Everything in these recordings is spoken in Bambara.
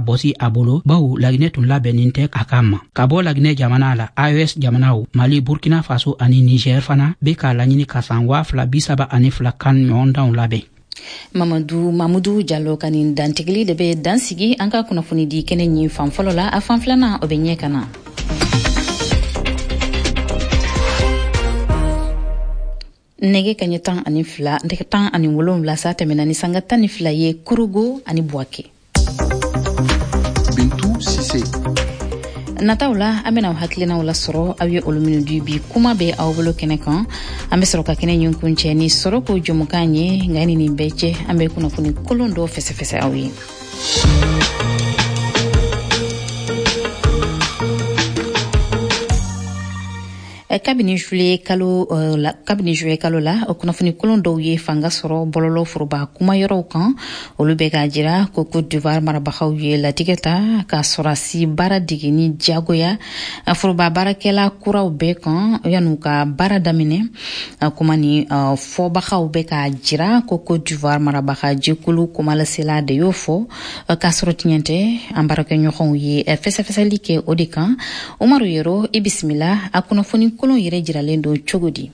bɔsi a bolo, bawo Laginɛ tun labɛnnin tɛ a ka ma. Ka bɔ Laginɛ jamana la, AES jamanaw, Mali, Burkina Faso ani Niger fana be k'a laɲini ka san 2032 CAN ɲɔgɔndanw labɛn. Mamadu Mamudu Jalo ka nin dantigili de bɛ dansigi an ka kunnafoni di kɛnɛ ɲin fan fɔlɔ la. A fan filanan, o bɛ ɲɛ ka na. Nɛgɛ kaɲɛ 12, nɛgɛ 17 sa tɛmɛna ni sanga 12 ye Korogo ani Buwake. Bintu Sise. Nataw la, an bɛna aw hakilinaw lasɔrɔ, aw ye olu minnu di bi kuma bɛ aw bolo kɛnɛ kan. An bɛ sɔrɔ ka kɛnɛ ɲin kuncɛ ni sɔrɔ ko jɛmukan ye. Nka ni nin bɛɛ cɛ, an bɛ kunnafoni kolon dɔ fɛsɛfɛsɛ aw ye. Kabini juillet kalo la, o kunnafoni kolon dɔw ye fanga sɔrɔ bɔlɔlɔ foroba kumayɔrɔw kan. Olu bɛ k'a jira ko Cote d'Ivoire marabagaw ye latigɛ ta ka sɔrɔdasi baara dege ni diyagoya foroba baarakɛla kuraw bɛɛ kan yan'u ka baara daminɛ. Kuma ni fɔbagaw bɛ k'a jira ko Cote d'Ivoire marabaga jɛkulu kumalasela de y'o fɔ, k'a sɔrɔ tiɲɛ tɛ. An baarakɛɲɔgɔnw ye fɛsɛfɛsɛli kɛ o de kan. Umaru Yero, i bisimila. A kunnafoni kolon yɛrɛ jiralen don cogo di?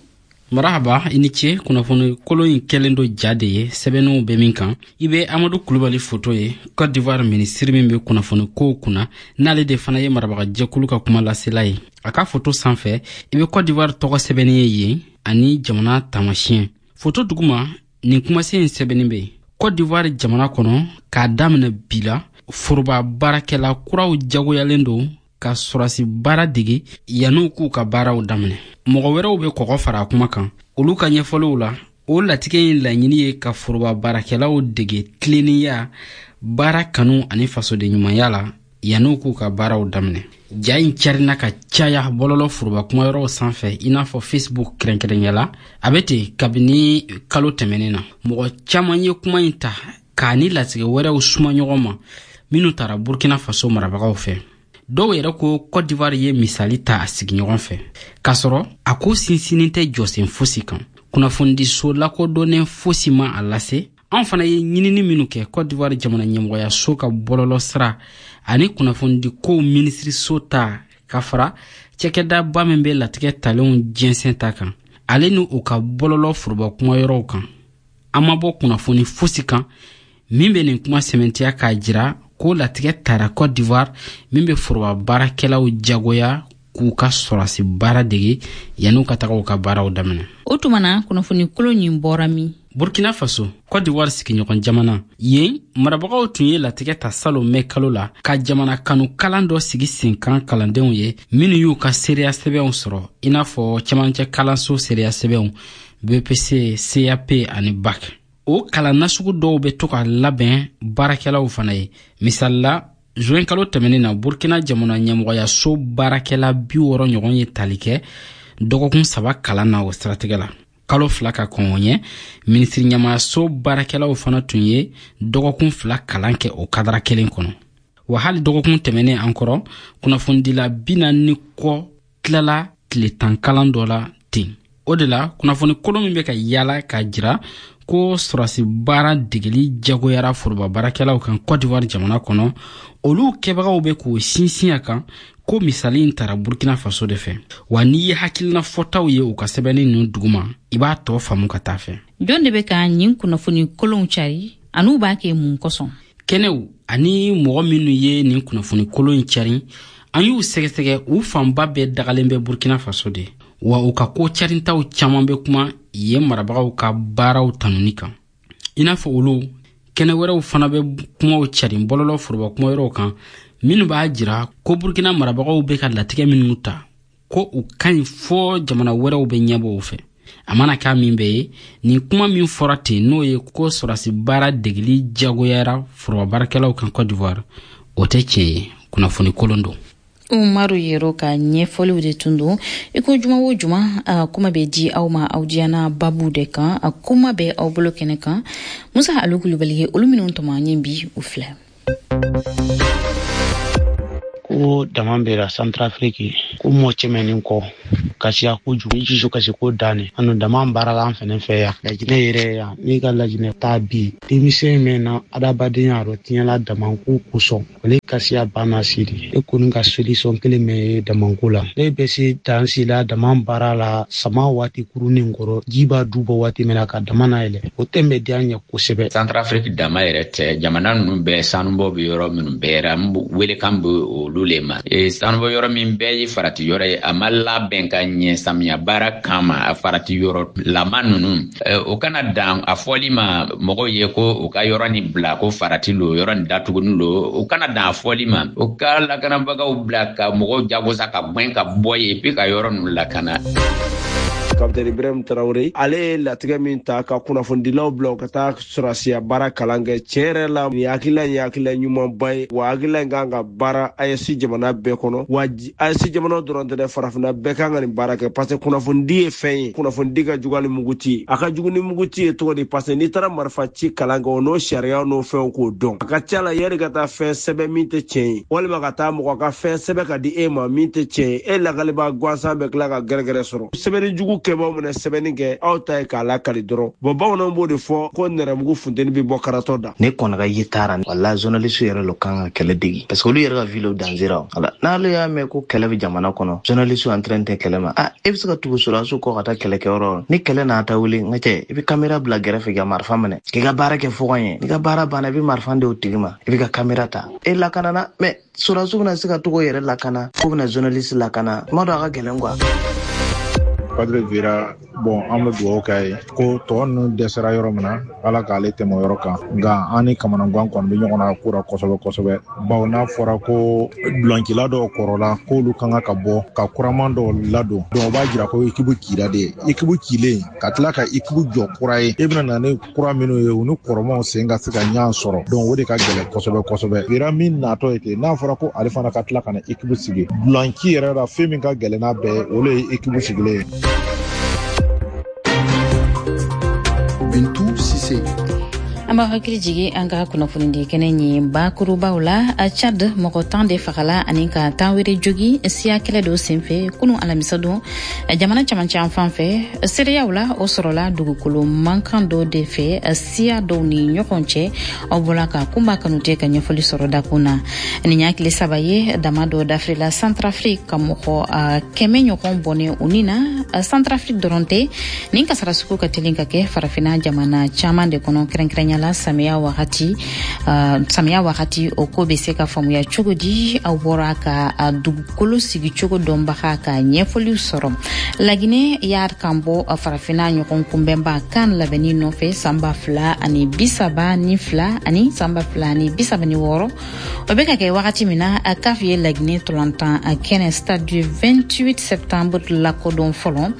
Marahaba, i ni ce. Kunnafoni kolon in kɛlen don ja de ye sɛbɛnniw bɛ min kan. I bɛ Amadu Kulubali foto ye, Cote d'Ivoire minisiri min bɛ kunnafoni kow kunna, n'ale de fana ye marabagajɛkulu ka kuma lasela ye. A ka foto sanfɛ, i bɛ Cote d'Ivoire tɔgɔ sɛbɛnni ye yen ani jamana taamasiyɛn. Foto duguma, nin kumasen in sɛbɛnni bɛ yen: Cote d'Ivoire jamana kɔnɔ, k'a daminɛ bi la, foroba baarakɛla kuraw jagoyalen don ka sɔrɔdasi baara dege yan'u k'u ka baaraw daminɛ. Mɔgɔ wɛrɛw bɛ kɔgɔ fara a kuma kan. Olu ka ɲɛfɔliw la, o latigɛ in laɲini ye ka foroba baarakɛlaw dege tilennenya, baara kanu ani fasodenɲumanya la yan'u k'u ka baaraw daminɛ. Ja in carina ka caya bɔlɔlɔ foroba kumayɔrɔw sanfɛ, i n'a fɔ Facebook kɛrɛnkɛrɛnya la. A bɛ ten kabini kalo tɛmɛnen na. Mɔgɔ caman ye kuma in ta k'a ni latigɛ wɛrɛw suma ɲɔgɔn ma minnu tara Burkina Faso marabagaw fɛ. Dɔw yɛrɛ ko Cote d'Ivoire ye misali ta a sigiɲɔgɔn fɛ, k'a sɔrɔ a ko sinsinnin tɛ jɔsen fosi kan. Kunnafonidiso lakodɔnnen fosi ma a lase. An fana ye ɲinini minnu kɛ Cote d'Ivoire jamana ɲɛmɔgɔyaso ka bɔlɔlɔ sira ani kunnafonidikow minisiriso ta, ka fara cakɛdaba min bɛ latigɛ talenw jɛnsɛn ta kan, ale ni u ka bɔlɔlɔ foroba kumayɔrɔw kan, an ma bɔ kunnafoni fosi kan min bɛ nin kuma sɛmɛntiya k'a jira ko latigɛ tara Cote d'Ivoire min bɛ foroba baarakɛlaw jagoya k'u ka sɔrɔdasi baara dege yan'u ka taga u ka baaraw daminɛ. O tuma na, kunnafoni kolon ɲin bɔra min? Burkina Faso, Cote d'Ivoire sigiɲɔgɔn jamana, yen marabagaw tun ye latigɛ ta salon mɛ kalo la ka jamana kanu kalan dɔ sigi sen kan kalandenw ye minnu y'u ka seereya sɛbɛnw sɔrɔ, i n'a fɔ cɛmancɛ kalanso seereya sɛbɛnw, BEPC, CAP ani BAC. O kalan nasugu dɔw bɛ to ka labɛn baarakɛlaw fana ye. Misali la, juin kalo tɛmɛnen na, Burkina jamana ɲɛmɔgɔyaso baarakɛla 60 ɲɔgɔn ye tali kɛ dɔgɔkun 3 kalan na o siratigɛ la. Kalo 2 ka kɔn o ɲɛ, minisiri ɲɛmaayaso baarakɛlaw fana tun ye dɔgɔkun 2 kalan kɛ o kadara kelen kɔnɔ. Wa hali dɔgɔkun tɛmɛnen an kɔrɔ, kunnafonidila 40 ni kɔ tilala tile 10 kalan dɔ la ten. O de la, kunnafoni kolon min bɛ ka yaala k'a jira ko sɔrɔdasi baara degeli jagoyara foroba baarakɛlaw kan Cote d'Ivoire jamana kɔnɔ, olu kɛbagaw bɛ k'o sinsin a kan ko misali in tara Burkina Faso de fɛ. Wa n'i ye hakilina fɔtaw ye u ka sɛbɛnni ninnu duguma, i b'a tɔ faamu ka taa fɛ. Jɔn de bɛ ka nin kunnafoni kolonw cari, an'u b'a kɛ mun kosɔn? Kɛnɛw ani mɔgɔ minnu ye nin kunnafoni kolon in cari, an y'u sɛgɛsɛgɛ, u fanba bɛɛ dagalen bɛ Burkina Faso de. Wa u ka ko carintaw caman bɛ kuma yen marabagaw ka baaraw tanuni kan. I n'a fɔ olu, kɛnɛ wɛrɛw fana bɛ kumaw carin bɔlɔlɔ foroba kumayɔrɔw kan minnu b'a jira ko Burkina marabagaw bɛ ka latigɛ minnu ta, ko u ka ɲi fɔ jamana wɛrɛw bɛ ɲɛbɔ u fɛ. A mana k'a min bɛɛ ye, nin kuma min fɔra ten, n'o ye ko sɔrɔdasi baara degeli jagoyara foroba baarakɛlaw kan Cote d'Ivoire, o tɛ tiɲɛ ye, kunnafoni kolon don. Umaru Yero ka ɲɛfɔliw de tun don. I ko juma o juma, a kuma bɛ di aw ma aw diyana babu de kan, a kuma bɛ aw bolo kɛnɛ kan. Musa Alu Kulubali ye olu minnu tɔmɔ an ye bi, u filɛ. Ko dama bɛra Centrafrique, ko mɔgɔ cɛmɛnin kɔ. Kasiya kojugu, i dusu kasi ko dan ne. An dama baara la an fɛnɛ fɛ yan. Lajinɛ yɛrɛ yan, n'i ka lajinɛ taa bi, denmisɛn min na adamadenya rɔ tiɲɛla damanko kosɔn, ale kasiya banna siri. E kɔni ka solution kelen min ye damanko la. Ne bɛ se dan si la dama baara la sama waati kurunin kɔrɔ, ji b'a du bɔ waati min na ka dama nayɛlɛ. O tɛn bɛ diya n ye kosɛbɛ. Centrafrique dama yɛrɛ tɛ, jamana ninnu bɛɛ sanubɔ bɛ yɔrɔ minnu bɛɛ ra, n welekan bɛ olu le ma. Sanubɔ yɔrɔ min bɛɛ ye farati yɔrɔ ye, a ma labɛn ka ɲɛ samiya baara kama, a farati yɔrɔ lama ninnu, o kana dan a fɔli ma mɔgɔw ye ko u ka yɔrɔ nin bila ko farati lo, yɔrɔ nin datuguni lo. O kana dan a fɔli ma, o ka lakanabagaw bila ka mɔgɔw jagosa ka gwɛn ka bɔ yen puis ka yɔrɔ ninnu lakana. Kapitɛni Ibrahim Traoré, ale ye latigɛ min ta ka kunnafonidilaw bila u ka taa sɔrɔsiya baara kalan kɛ, tiɲɛ yɛrɛ la, nin hakilila in ye hakilila ɲumanba ye. Wa hakilila in kan ka baara AES jamana bɛɛ kɔnɔ, wa AES jamana dɔrɔn tɛ dɛ, farafinna bɛɛ kan ka nin baara kɛ, parce que kunnafonidi ye fɛn ye, kunnafonidi ka jugu ni muguti ye. A ka jugu ni muguti ye cogo di? Parce que n'i taara marifa ci kalan kɛ, o n'o sariya n'o fɛnw k'o dɔn, a ka ca la yanni ka taa fɛn sɛbɛn min tɛ tiɲɛ ye, walima ka taa mɔgɔ ka fɛn sɛbɛn ka di e ma min tɛ tiɲɛ ye, e lakalibaa gansan bɛ tila ka gɛrɛgɛrɛ sɔrɔ. Sɛbɛnni jugu kɛbaw minɛ sɛbɛnni kɛ, aw ta ye k'a lakali dɔrɔn. Bɔn, bamananw b'o de fɔ ko nɛrɛmugu funteni bɛ bɔ karatɔ da. Ne kɔni ka ye taara wala journaliste yɛrɛ lo kan ka kɛlɛ degi, parce que olu yɛrɛ ka vie lo danger ra. Wala n'ale y'a mɛn ko kɛlɛ bɛ jamana kɔnɔ, journaliste en train tɛ kɛlɛ ma, ah, e bɛ se ka tugu sɔrɔdasiw kɔ ka taa kɛlɛkɛyɔrɔ. Ni kɛlɛ n'a ta wuli, n ka cɛ, i bɛ caméra bila gɛrɛfɛ ka marifa minɛ k'i ka baara kɛ fɔgɔn ye. N'i ka baara banna, i bɛ marifa di o tigi ma, i bɛ ka caméra ta, e lakanana. Mais sɔrɔdasiw bɛna se ka togo yɛrɛ lakana ko bɛna journaliste lakana, kuma dɔ a ka gɛlɛn quoi. Patrick Vieira, bon, an bɛ dugawu k'a ye ko tɔ ninnu dɛsɛra yɔrɔ min na, Ala k'ale tɛmɛ o yɔrɔ kan. Nka an ni kamanagan kɔni bɛ ɲɔgɔn na ko la kosɛbɛ kosɛbɛ, bawo n'a fɔra ko dulancila dɔw kɔrɔla k'olu kan ka bɔ ka kuraman dɔw ladon, donc o b'a jira ko équipe cira de. Équipe cilen ka tila ka équipe jɔ kura ye, e bɛna na ni kura minnu ye, u ni kɔrɔmaw sen ka se ka ɲɔgɔn sɔrɔ, donc o de ka gɛlɛn kosɛbɛ kosɛbɛ. Vieira min natɔ ye ten, n'a fɔra ko ale fana ka tila ka na équipe sigi dulanci yɛrɛ la, fɛn min ka gɛlɛn n'a bɛɛ ye, o de ye équipe sigilen ye. Bintu Sise. An b'a hakili jigi an ka kunnafonidi kɛnɛ ye bakurubaw la. Chad, mɔgɔ 10 de fagala ani ka 10 wɛrɛ jogi siya kɛlɛ dɔ senfɛ kunu alamisa don jamana camancɛ an fan fɛ. Seereyaw la, o sɔrɔla dugukolo mankan dɔ de fɛ siya dɔw ni ɲɔgɔn cɛ. Aw bɔla ka Kunba Kanute ka ɲɛfɔli sɔrɔ dakun na. Nin y'a tile 3 ye dama dɔ dafirila Centrafrique ka mɔgɔ 100 ɲɔgɔn bɔnɛ u ni na. Centrafrique dɔrɔn tɛ, nin kasara sugu ka teli ka kɛ farafinna jamana caman de kɔnɔ, kɛrɛnkɛrɛnya la samiya wagati. Samiya wagati, o ko bɛ se ka faamuya cogo di? Aw bɔra ka dugukolo sigicogo dɔnbaga ka ɲɛfɔliw sɔrɔ. Laginɛ y'a kan bɔ farafinna ɲɔgɔn kunbɛnba kan labɛnni nɔfɛ san 2032 ani san 2036. O bɛ ka kɛ wagati min na, CAF ye Laginɛ tolantan kɛnɛ Stade du 28 septembre lakodɔn fɔlɔ.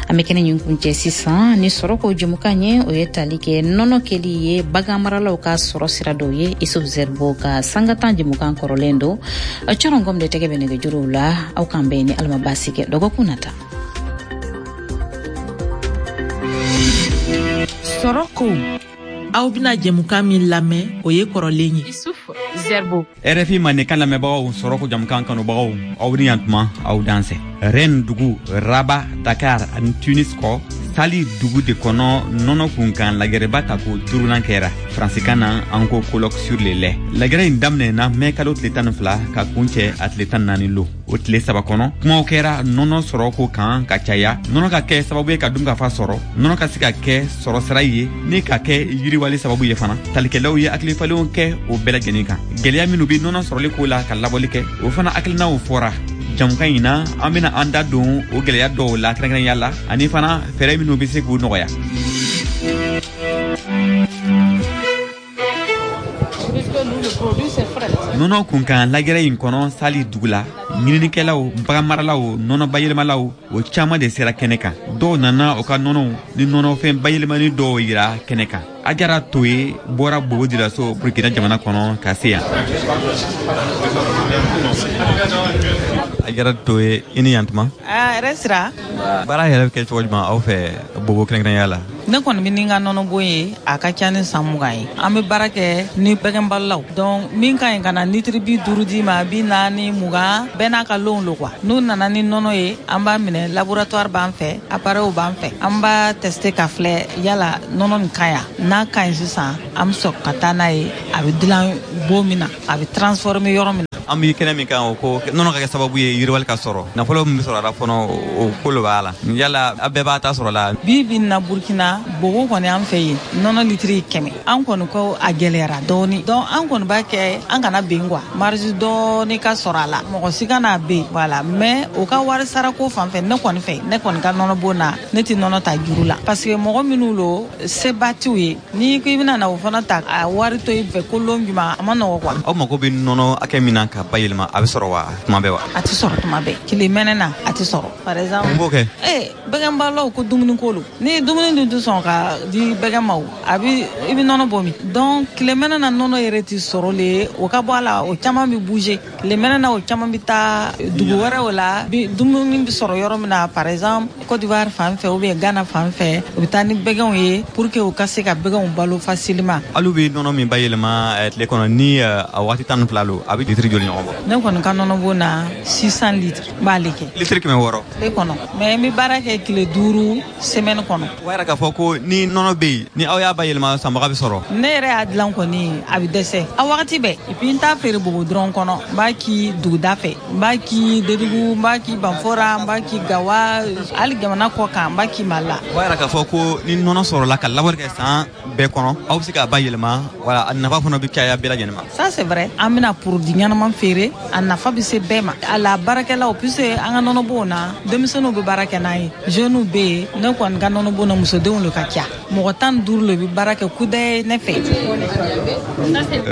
An bɛ kɛnɛ ɲin kuncɛ sisan ni sɔrɔ ko jɛmukan ye, o ye tali kɛ nɔnɔ kɛli ye bagan maralaw ka sɔrɔ sira dɔw ye. Isuf Zerbo ka sangatan jɛmukan kɔrɔlen don. Cɔrɔngɔm de tɛgɛ bɛ nɛgɛjuruw la. Aw k'an bɛn ni Ala ma baasi kɛ dɔgɔkun nata. Sɔrɔ ko, aw bɛna jɛmukan min lamɛn, o ye kɔrɔlen ye. Isuf Zerbo. RFI mandenkan lamɛnbagaw, sɔrɔ ko jamukan kanubagaw, aw ni yantuma, aw dansɛ. Rennes dugu, Rabat, Dakar ani Tunis kɔ, Sali dugu de kɔnɔ, nɔnɔ kunkan lagɛrɛba ta ko duurunan kɛra. Faransikan na, an ko colloque sur le lait. Lagɛrɛ in daminɛna mɛ kalo tile 12 ka kuncɛ a tile 14 lo. O tile 3 kɔnɔ, kumaw kɛra nɔnɔ sɔrɔ ko kan ka caya, nɔnɔ ka kɛ sababu ye ka dunkafa sɔrɔ, nɔnɔ ka se ka kɛ sɔrɔ sira ye ni ka kɛ yiriwali sababu ye fana. Talikɛlaw ye hakilifalenw kɛ o bɛɛ lajɛlen kan. Gwɛlɛya minnu be nɔnɔ sɔrɔli ko la ka labɔli kɛ, o fana hakilinaw fɔra. Jamukan in na, an bena an da don o gwɛlɛya dɔw la kɛrɛnkɛrɛnya la, ani fana fɛɛrɛ minnu be se k'u nɔgɔya. Nɔnɔ kunkan lagɛrɛ in kɔnɔ Sali dugu la, ɲininikɛlaw, baganmaralaw, nɔnɔ bayɛlɛmalaw, o caaman de sera kɛnɛ kan. Dɔw nana u ka nɔnɔw ni nɔnɔfɛn bayɛlɛmani dɔw yira kɛnɛ kan. Ajara Toye bɔra Bobo Dioulasso, Burkina jamana kɔnɔ ka se yan. Ajara Toye, i ni yantuma. Ah, yɛrɛ sira. Baara yɛrɛ bɛ kɛ cogo jumɛn aw fɛ Bobo kɛrɛnkɛrɛnya la? Ne kɔni bɛ ni n ka nɔnɔbon ye, a ka ca ni san 20 ye. An bɛ baara kɛ ni bɛgɛnbalolaw. Donc min ka ɲi ka na litiri 50 d'i ma, 40, 20, bɛɛ n'a ka lonw lo quoi. N'u nana ni nɔnɔ ye, an b'a minɛ, laboratoire b'an fɛ, appareil b'an fɛ. An b'a tester ka filɛ yala nɔnɔ nin ka ɲi. N'a ka ɲi sisan, an bɛ sɔrɔ ka taa n'a ye, a bɛ dilan bon min na, a bɛ transformer yɔrɔ min na. An bɛ kɛnɛ min kan, o ko nɔnɔ ka kɛ sababu ye yiriwali ka sɔrɔ, nafolo min bɛ sɔrɔ a la fɔlɔ, o ko lo b'a la. Yala a bɛɛ b'a ta sɔrɔ la? Bi bi na Burkina, Bobo kɔni an fɛ yen, nɔnɔ litiri 100. An kɔni ko a gɛlɛyara dɔɔni, donc an kɔni b'a kɛ an kana ben quoi, marge dɔɔni ka sɔrɔ a la, mɔgɔ si kana ben, voilà. Mais o ka wari sarako fan fɛ, ne kɔni fɛ, ne kɔni ka nɔnɔ bon na, ne tɛ nɔnɔ ta juru la, parce que mɔgɔ minnu lo, seba t'u ye. N'i ko i bɛna na o fana ta a wari to i fɛ ko lon juma, a ma nɔgɔ quoi. Aw mago bɛ nɔnɔ hakɛ min na ka bayɛlɛma, a bɛ sɔrɔ wa tuma bɛɛ wa? A tɛ sɔrɔ tuma bɛɛ. Tile mɛnɛ na a tɛ sɔrɔ. Par exemple, mun b'o kɛ? Bɛgɛnbalolaw ko dumuni ko lo. Ni dumuni dun tɛ sɔn ka di bɛgɛn ma, o a bɛ i bɛ nɔnɔ bɔ min? Donc tile mɛnɛ na nɔnɔ yɛrɛ tɛ sɔrɔ le, o ka bɔ a la, o caman bɛ bouger. Tile mɛnɛ na o caman bɛ taa dugu wɛrɛw la, dumuni bɛ sɔrɔ yɔrɔ min na, par exemple Côte d'Ivoire fan fɛ ou bien Ghana fan fɛ, u bɛ taa ni bɛgɛnw ye pour que u ka se ka bɛgɛnw balo facilement. Alu bɛ nɔnɔ min bayɛlɛma tile kɔnɔ ni a waati 12 lo, a bɛ litiri joli ɲɔgɔn bɔ? Ne kɔni ka nɔnɔ bon na, 600 litres n b'ale kɛ. Litiri 600? Tile kɔnɔ, mais n bɛ baara kɛ tile 5 semaine kɔnɔ. O b'a yira k'a fɔ ko ni nɔnɔ bɛ yen, ni aw y'a bayɛlɛma, sanbaga bɛ sɔrɔ. Ne yɛrɛ y'a dilan kɔni, a bɛ dɛsɛ a wagati bɛɛ. Et puis n t'a feere Bobo dɔrɔn kɔnɔ, n b'a ki duguda fɛ, n b'a ki Dédougou, n b'a ki Banfora, n b'a ki Gawa, hali jamana kɔ kan, n b'a ki Mali la. O b'a yira k'a fɔ ko ni nɔnɔ sɔrɔla ka labɔli kɛ san bɛɛ kɔnɔ, aw bɛ se k'a bayɛlɛma, wala a nafa fana bɛ caya bɛɛ lajɛlen ma. Ça c'est vrai, an bɛna produit ɲɛnama feere, a nafa bɛ se bɛɛ ma. A la baarakɛlaw, puisque an ka nɔnɔbonw na, denmisɛnninw bɛ baara kɛ n'an ye, jeunes bɛ yen. Ne kɔni ka nɔnɔbon na, musodenw de ka ca, mɔgɔ 15 le bɛ baara kɛ kudaye ne fɛ.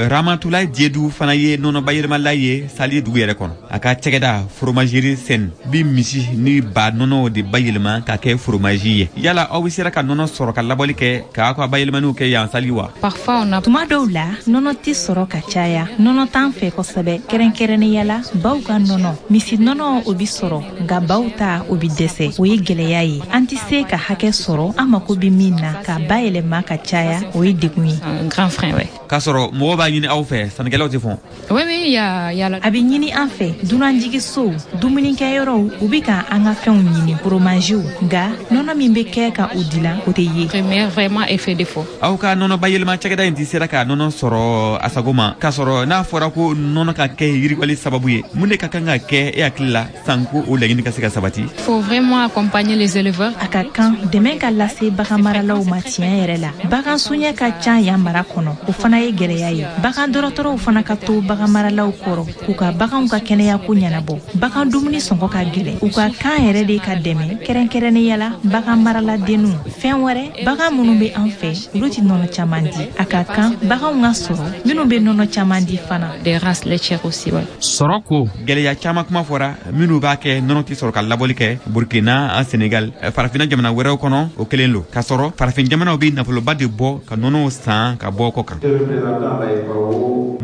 Ramatulaye Diédou fana ye nɔnɔ bayɛlɛmala ye Sali dugu yɛrɛ kɔnɔ. A ka cɛgɛda fromagerie Sen bi misi ni ba nɔnɔw de bayɛlɛma ka kɛ fromaji ye. Yala aw bɛ sera ka nɔnɔ sɔrɔ ka labɔli kɛ k'aw ka bayɛlɛmaniw kɛ yan Sali wa? Parfois on a tuma dɔw la nɔnɔ tɛ sɔrɔ ka caya, nɔnɔ t'an fɛ kosɛbɛ, kɛrɛnkɛrɛnnenya la baw ka nɔnɔ. Misi nɔnɔ o bi sɔrɔ, nka baw ta o bi dɛsɛ, o ye gɛlɛya ye. An tɛ se ka hakɛ sɔrɔ an mako bɛ min na k'a bayɛlɛma ka caya, o ye degun ye. Un grand frein, ouais. K'a sɔrɔ mɔgɔw b'a ɲini aw fɛ, sannikɛlaw tɛ fɔn. Oui, oui, il y a la... A bɛ ɲini an fɛ, dunanjiginsow, dumunikɛyɔrɔw, u bɛ ka an ka fɛnw ɲini, foromaziw, nka nɔnɔ min bɛ kɛ ka u dilan, o tɛ ye. Premier vraiment effet défaut. Aw ka nɔnɔ bayɛlɛma cakɛda in tɛ sera ka nɔnɔ sɔrɔ a sago ma, k'a sɔrɔ n'a fɔra ko nɔnɔ ka kɛ yiriwali sababu ye, mun de ka kan ka kɛ e hakili la sanko o laɲini ka se ka sabati? Faut vraiment accompagner les éleveurs. A ka kan dɛmɛ ka lase bagan maralaw ma tiɲɛ yɛrɛ la. Bagan soɲɛ ka ca yan mara kɔnɔ, o fana ye gɛlɛya ye. Bagan dɔgɔtɔrɔw fana ka to bagan maralaw kɔrɔ k'u ka baganw ka kɛnɛya ko ɲɛnabɔ. Bagan dumuni sɔngɔ ka gɛlɛn, u ka kan yɛrɛ de ka dɛmɛ, kɛrɛnkɛrɛnnenya la bagan maraladenninw. Fɛn wɛrɛ, bagan minnu bɛ an fɛ, olu tɛ nɔnɔ caman di. A ka kan baganw ka sɔrɔ minnu bɛ nɔnɔ caman di fana. Des races laitières aussi, ouais. Sɔrɔ ko gɛlɛya caman kuma fɔra minnu b'a kɛ nɔnɔ tɛ sɔrɔ ka labɔli kɛ Burkina, Senegal, farafinna jamana wɛrɛw kɔnɔ, o kelen lo. K'a sɔrɔ farafin jamanaw bɛ nafoloba de bɔ ka nɔnɔw san ka bɔ kɔ kan.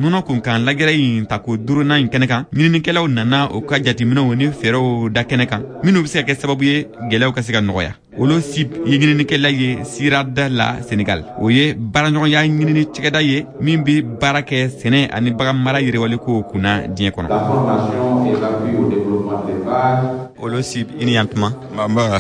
Nɔnɔ kunkan lajɛrɛ in tako 5nan in kɛnɛ kan, ɲininikɛlaw nana u ka jateminɛw ni fɛɛrɛw da kɛnɛ kan minnu bɛ se ka kɛ sababu ye gɛlɛyaw ka se ka nɔgɔya. Olo sip ye ɲininikɛla ye Sirada la Senegal. O ye baaraɲɔgɔnya ɲinini cakɛda ye min bɛ baara kɛ sɛnɛ ani bagan mara yiriwaliko kunna diɲɛ kɔnɔ. Olo sip, i ni yan tuma. Nba.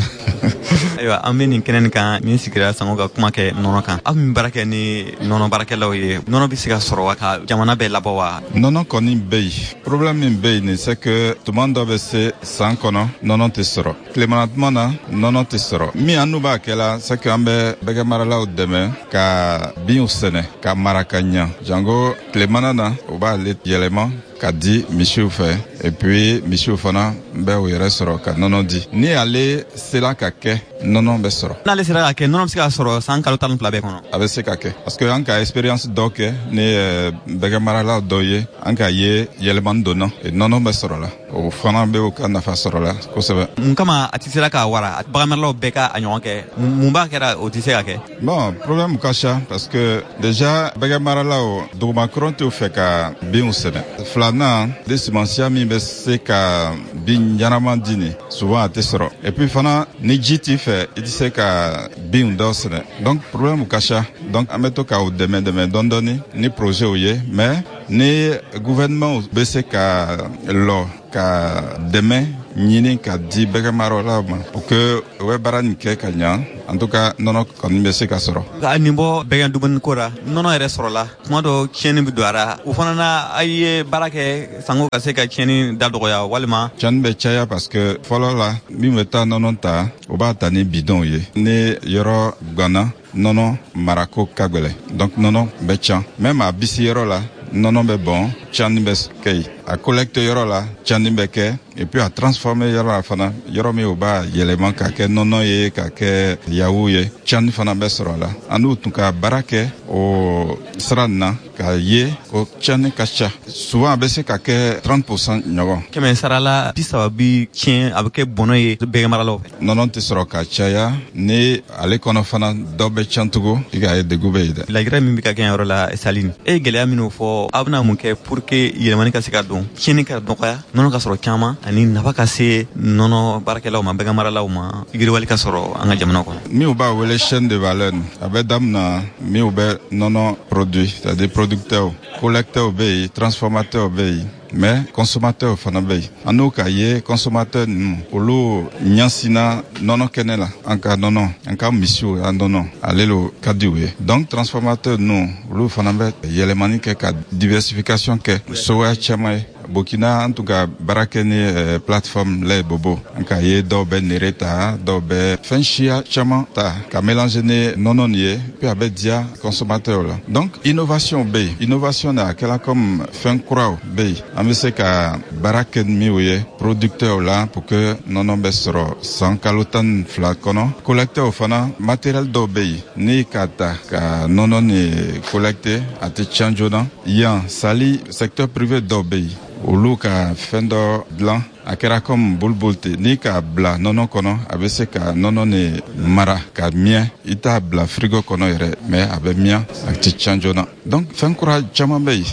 Ayiwa, an bɛ nin kɛnɛ nin kan min sigira sango ka kuma kɛ nɔnɔ kan. Aw min baara kɛ ni nɔnɔ baarakɛlaw ye, nɔnɔ bɛ se ka sɔrɔ wa ka jamana bɛɛ labɔ wa? Nɔnɔ kɔni bɛ yen. Problème min bɛ yen nin, c'est que tuma dɔ bɛ se san kɔnɔ, nɔnɔ tɛ sɔrɔ. Tilemana tuma na, nɔnɔ tɛ sɔrɔ. Min an n'u b'a kɛ la, c'est que an bɛ bɛgɛ maralaw dɛmɛ ka binw sɛnɛ ka mara ka ɲa. Jango tilemana na, u b'ale yɛlɛma ka di misiw fɛ, et puis misiw fana bɛ u yɛrɛ sɔrɔ ka nɔnɔ di. Ni ale sera ka kɛ, nɔnɔ bɛ sɔrɔ. N'ale sera ka kɛ, nɔnɔ bɛ se ka sɔrɔ san kalo 12 bɛɛ kɔnɔ. A bɛ se ka kɛ, parce que an ka expérience dɔ kɛ ni bɛgɛ maralaw dɔ ye, an ka ye yɛlɛmani donna, nɔnɔ bɛ sɔrɔ la, o fana bɛ u ka nafa sɔrɔ la kosɛbɛ. Mun kama a tɛ sera ka wara bagan maralaw bɛɛ ka a ɲɔgɔn kɛ? Mun b'a kɛra o tɛ se ka kɛ? Bon, problème ka ca, parce que déjà bɛgɛ maralaw dugumakɔrɔ t'u fɛ ka binw sɛnɛ. Fila Filanan de sumansiya min bɛ se ka bin ɲɛnama di nin, souvent a tɛ sɔrɔ. Et puis fana, ni ji t'i fɛ, i tɛ se ka binw dɔ sɛnɛ. Donc problème ka ca. Donc an bɛ to k'u dɛmɛ dɛmɛ dɔɔni dɔɔni ni projet ye, mais ni gouvernement bɛ se ka lɔ ka dɛmɛ ɲini ka di bɛgɛmaralaw ma pour que u bɛ baara nin kɛ ka ɲa, en tout cas nɔnɔ kɔni bɛ se ka sɔrɔ. Ka nin bɔ bɛgɛn dumuni ko ra, nɔnɔ yɛrɛ sɔrɔla tuma dɔ, tiɲɛni bɛ don a ra. O fana na, a ye baara kɛ sanko ka se ka tiɲɛni da dɔgɔya walima? Tiɲɛni bɛ caya parce que fɔlɔ la, min bɛ taa nɔnɔ ta, o b'a ta ni bidɔnw ye. Ni yɔrɔ ganna, nɔnɔ marako ka gwɛlɛ, donc nɔnɔ bɛ can. Même a bisi yɔrɔ la, nɔnɔ bɛ bɔn, tiɲɛni bɛ kɛ yen. A collecte yɔrɔ la, tiɲɛni bɛ kɛ. Et puis a transformer yɔrɔ la fana, yɔrɔ min o b'a yɛlɛma ka kɛ nɔnɔ ye, ka kɛ yawu ye, tiɲɛni fana bɛ sɔrɔ a la. An n'u tun ka baara kɛ o sira nin na k'a ye ko tiɲɛni ka ca. Souvent a bɛ se ka kɛ 30% ɲɔgɔn. 100 sarala 30 bi tiɲɛ, a bɛ kɛ bɔnɔ ye bɛgɛmaralaw fɛ. Nɔnɔ tɛ sɔrɔ ka caya, ni ale kɔnɔ fana dɔ bɛ tiɲɛ tugun, i k'a ye degun bɛ yen dɛ. Lajɛrɛ min bɛ ka kɛ yɔrɔ la, Saline, e ye gɛlɛya minnu fɔ, aw bɛna mun kɛ pour que yɛlɛmani ka se ka don, tiɲɛni ka dɔgɔya, nɔnɔ ka sɔrɔ caman, ani nafa ka se nɔnɔ baarakɛlaw ma, bɛgɛmaralaw ma, yiriwali ka sɔrɔ an ka jamana kɔnɔ? Minnu b'a wele chaîne de valeur, a bɛ daminɛ minnu bɛ nɔnɔ produit, c'est-à-dire producteurs, collecteurs bɛ yen, transformateurs bɛ yen, mais consommateur fana bɛ yen. An n'o k'a ye consommateur ninnu, olu ɲɛsinna nɔnɔ kɛnɛ la. An ka nɔnɔ, an ka misiw an nɔnɔ, ale lo ka di u ye. Donc transformateur ninnu, olu fana bɛ yɛlɛmani kɛ ka diversification kɛ sogoya caman ye. Burkina, an tun ka baara kɛ ni plateforme lait bobo. An k'a ye dɔw bɛ nere ta, dɔw bɛ fɛn siya caman ta ka mélanger ni nɔnɔ nin ye, puis a bɛ diya consommateur la. Donc innovation bɛ yen. Innovation a kɛla comme fɛn kuraw bɛ yen, an bɛ se ka baara kɛ ni minnu ye producteur la pour que nɔnɔ bɛ sɔrɔ san kalo 12 kɔnɔ. Collecteur fana, matériel dɔw bɛ yen, ni k'a ta ka nɔnɔ ni collecter, a tɛ tiɲɛ joona. Yan Sali, secteur privé dɔw bɛ yen, olu ka fɛn dɔ dilan, a kɛra comme bulbul ten. N'i k'a bila nɔnɔ kɔnɔ, a bɛ se ka nɔnɔ ni mara ka miyɛ. I t'a bila frigo kɔnɔ yɛrɛ, mais a bɛ miyɛ, a tɛ tiɲɛ joona. Donc fɛn kura caman bɛ yen.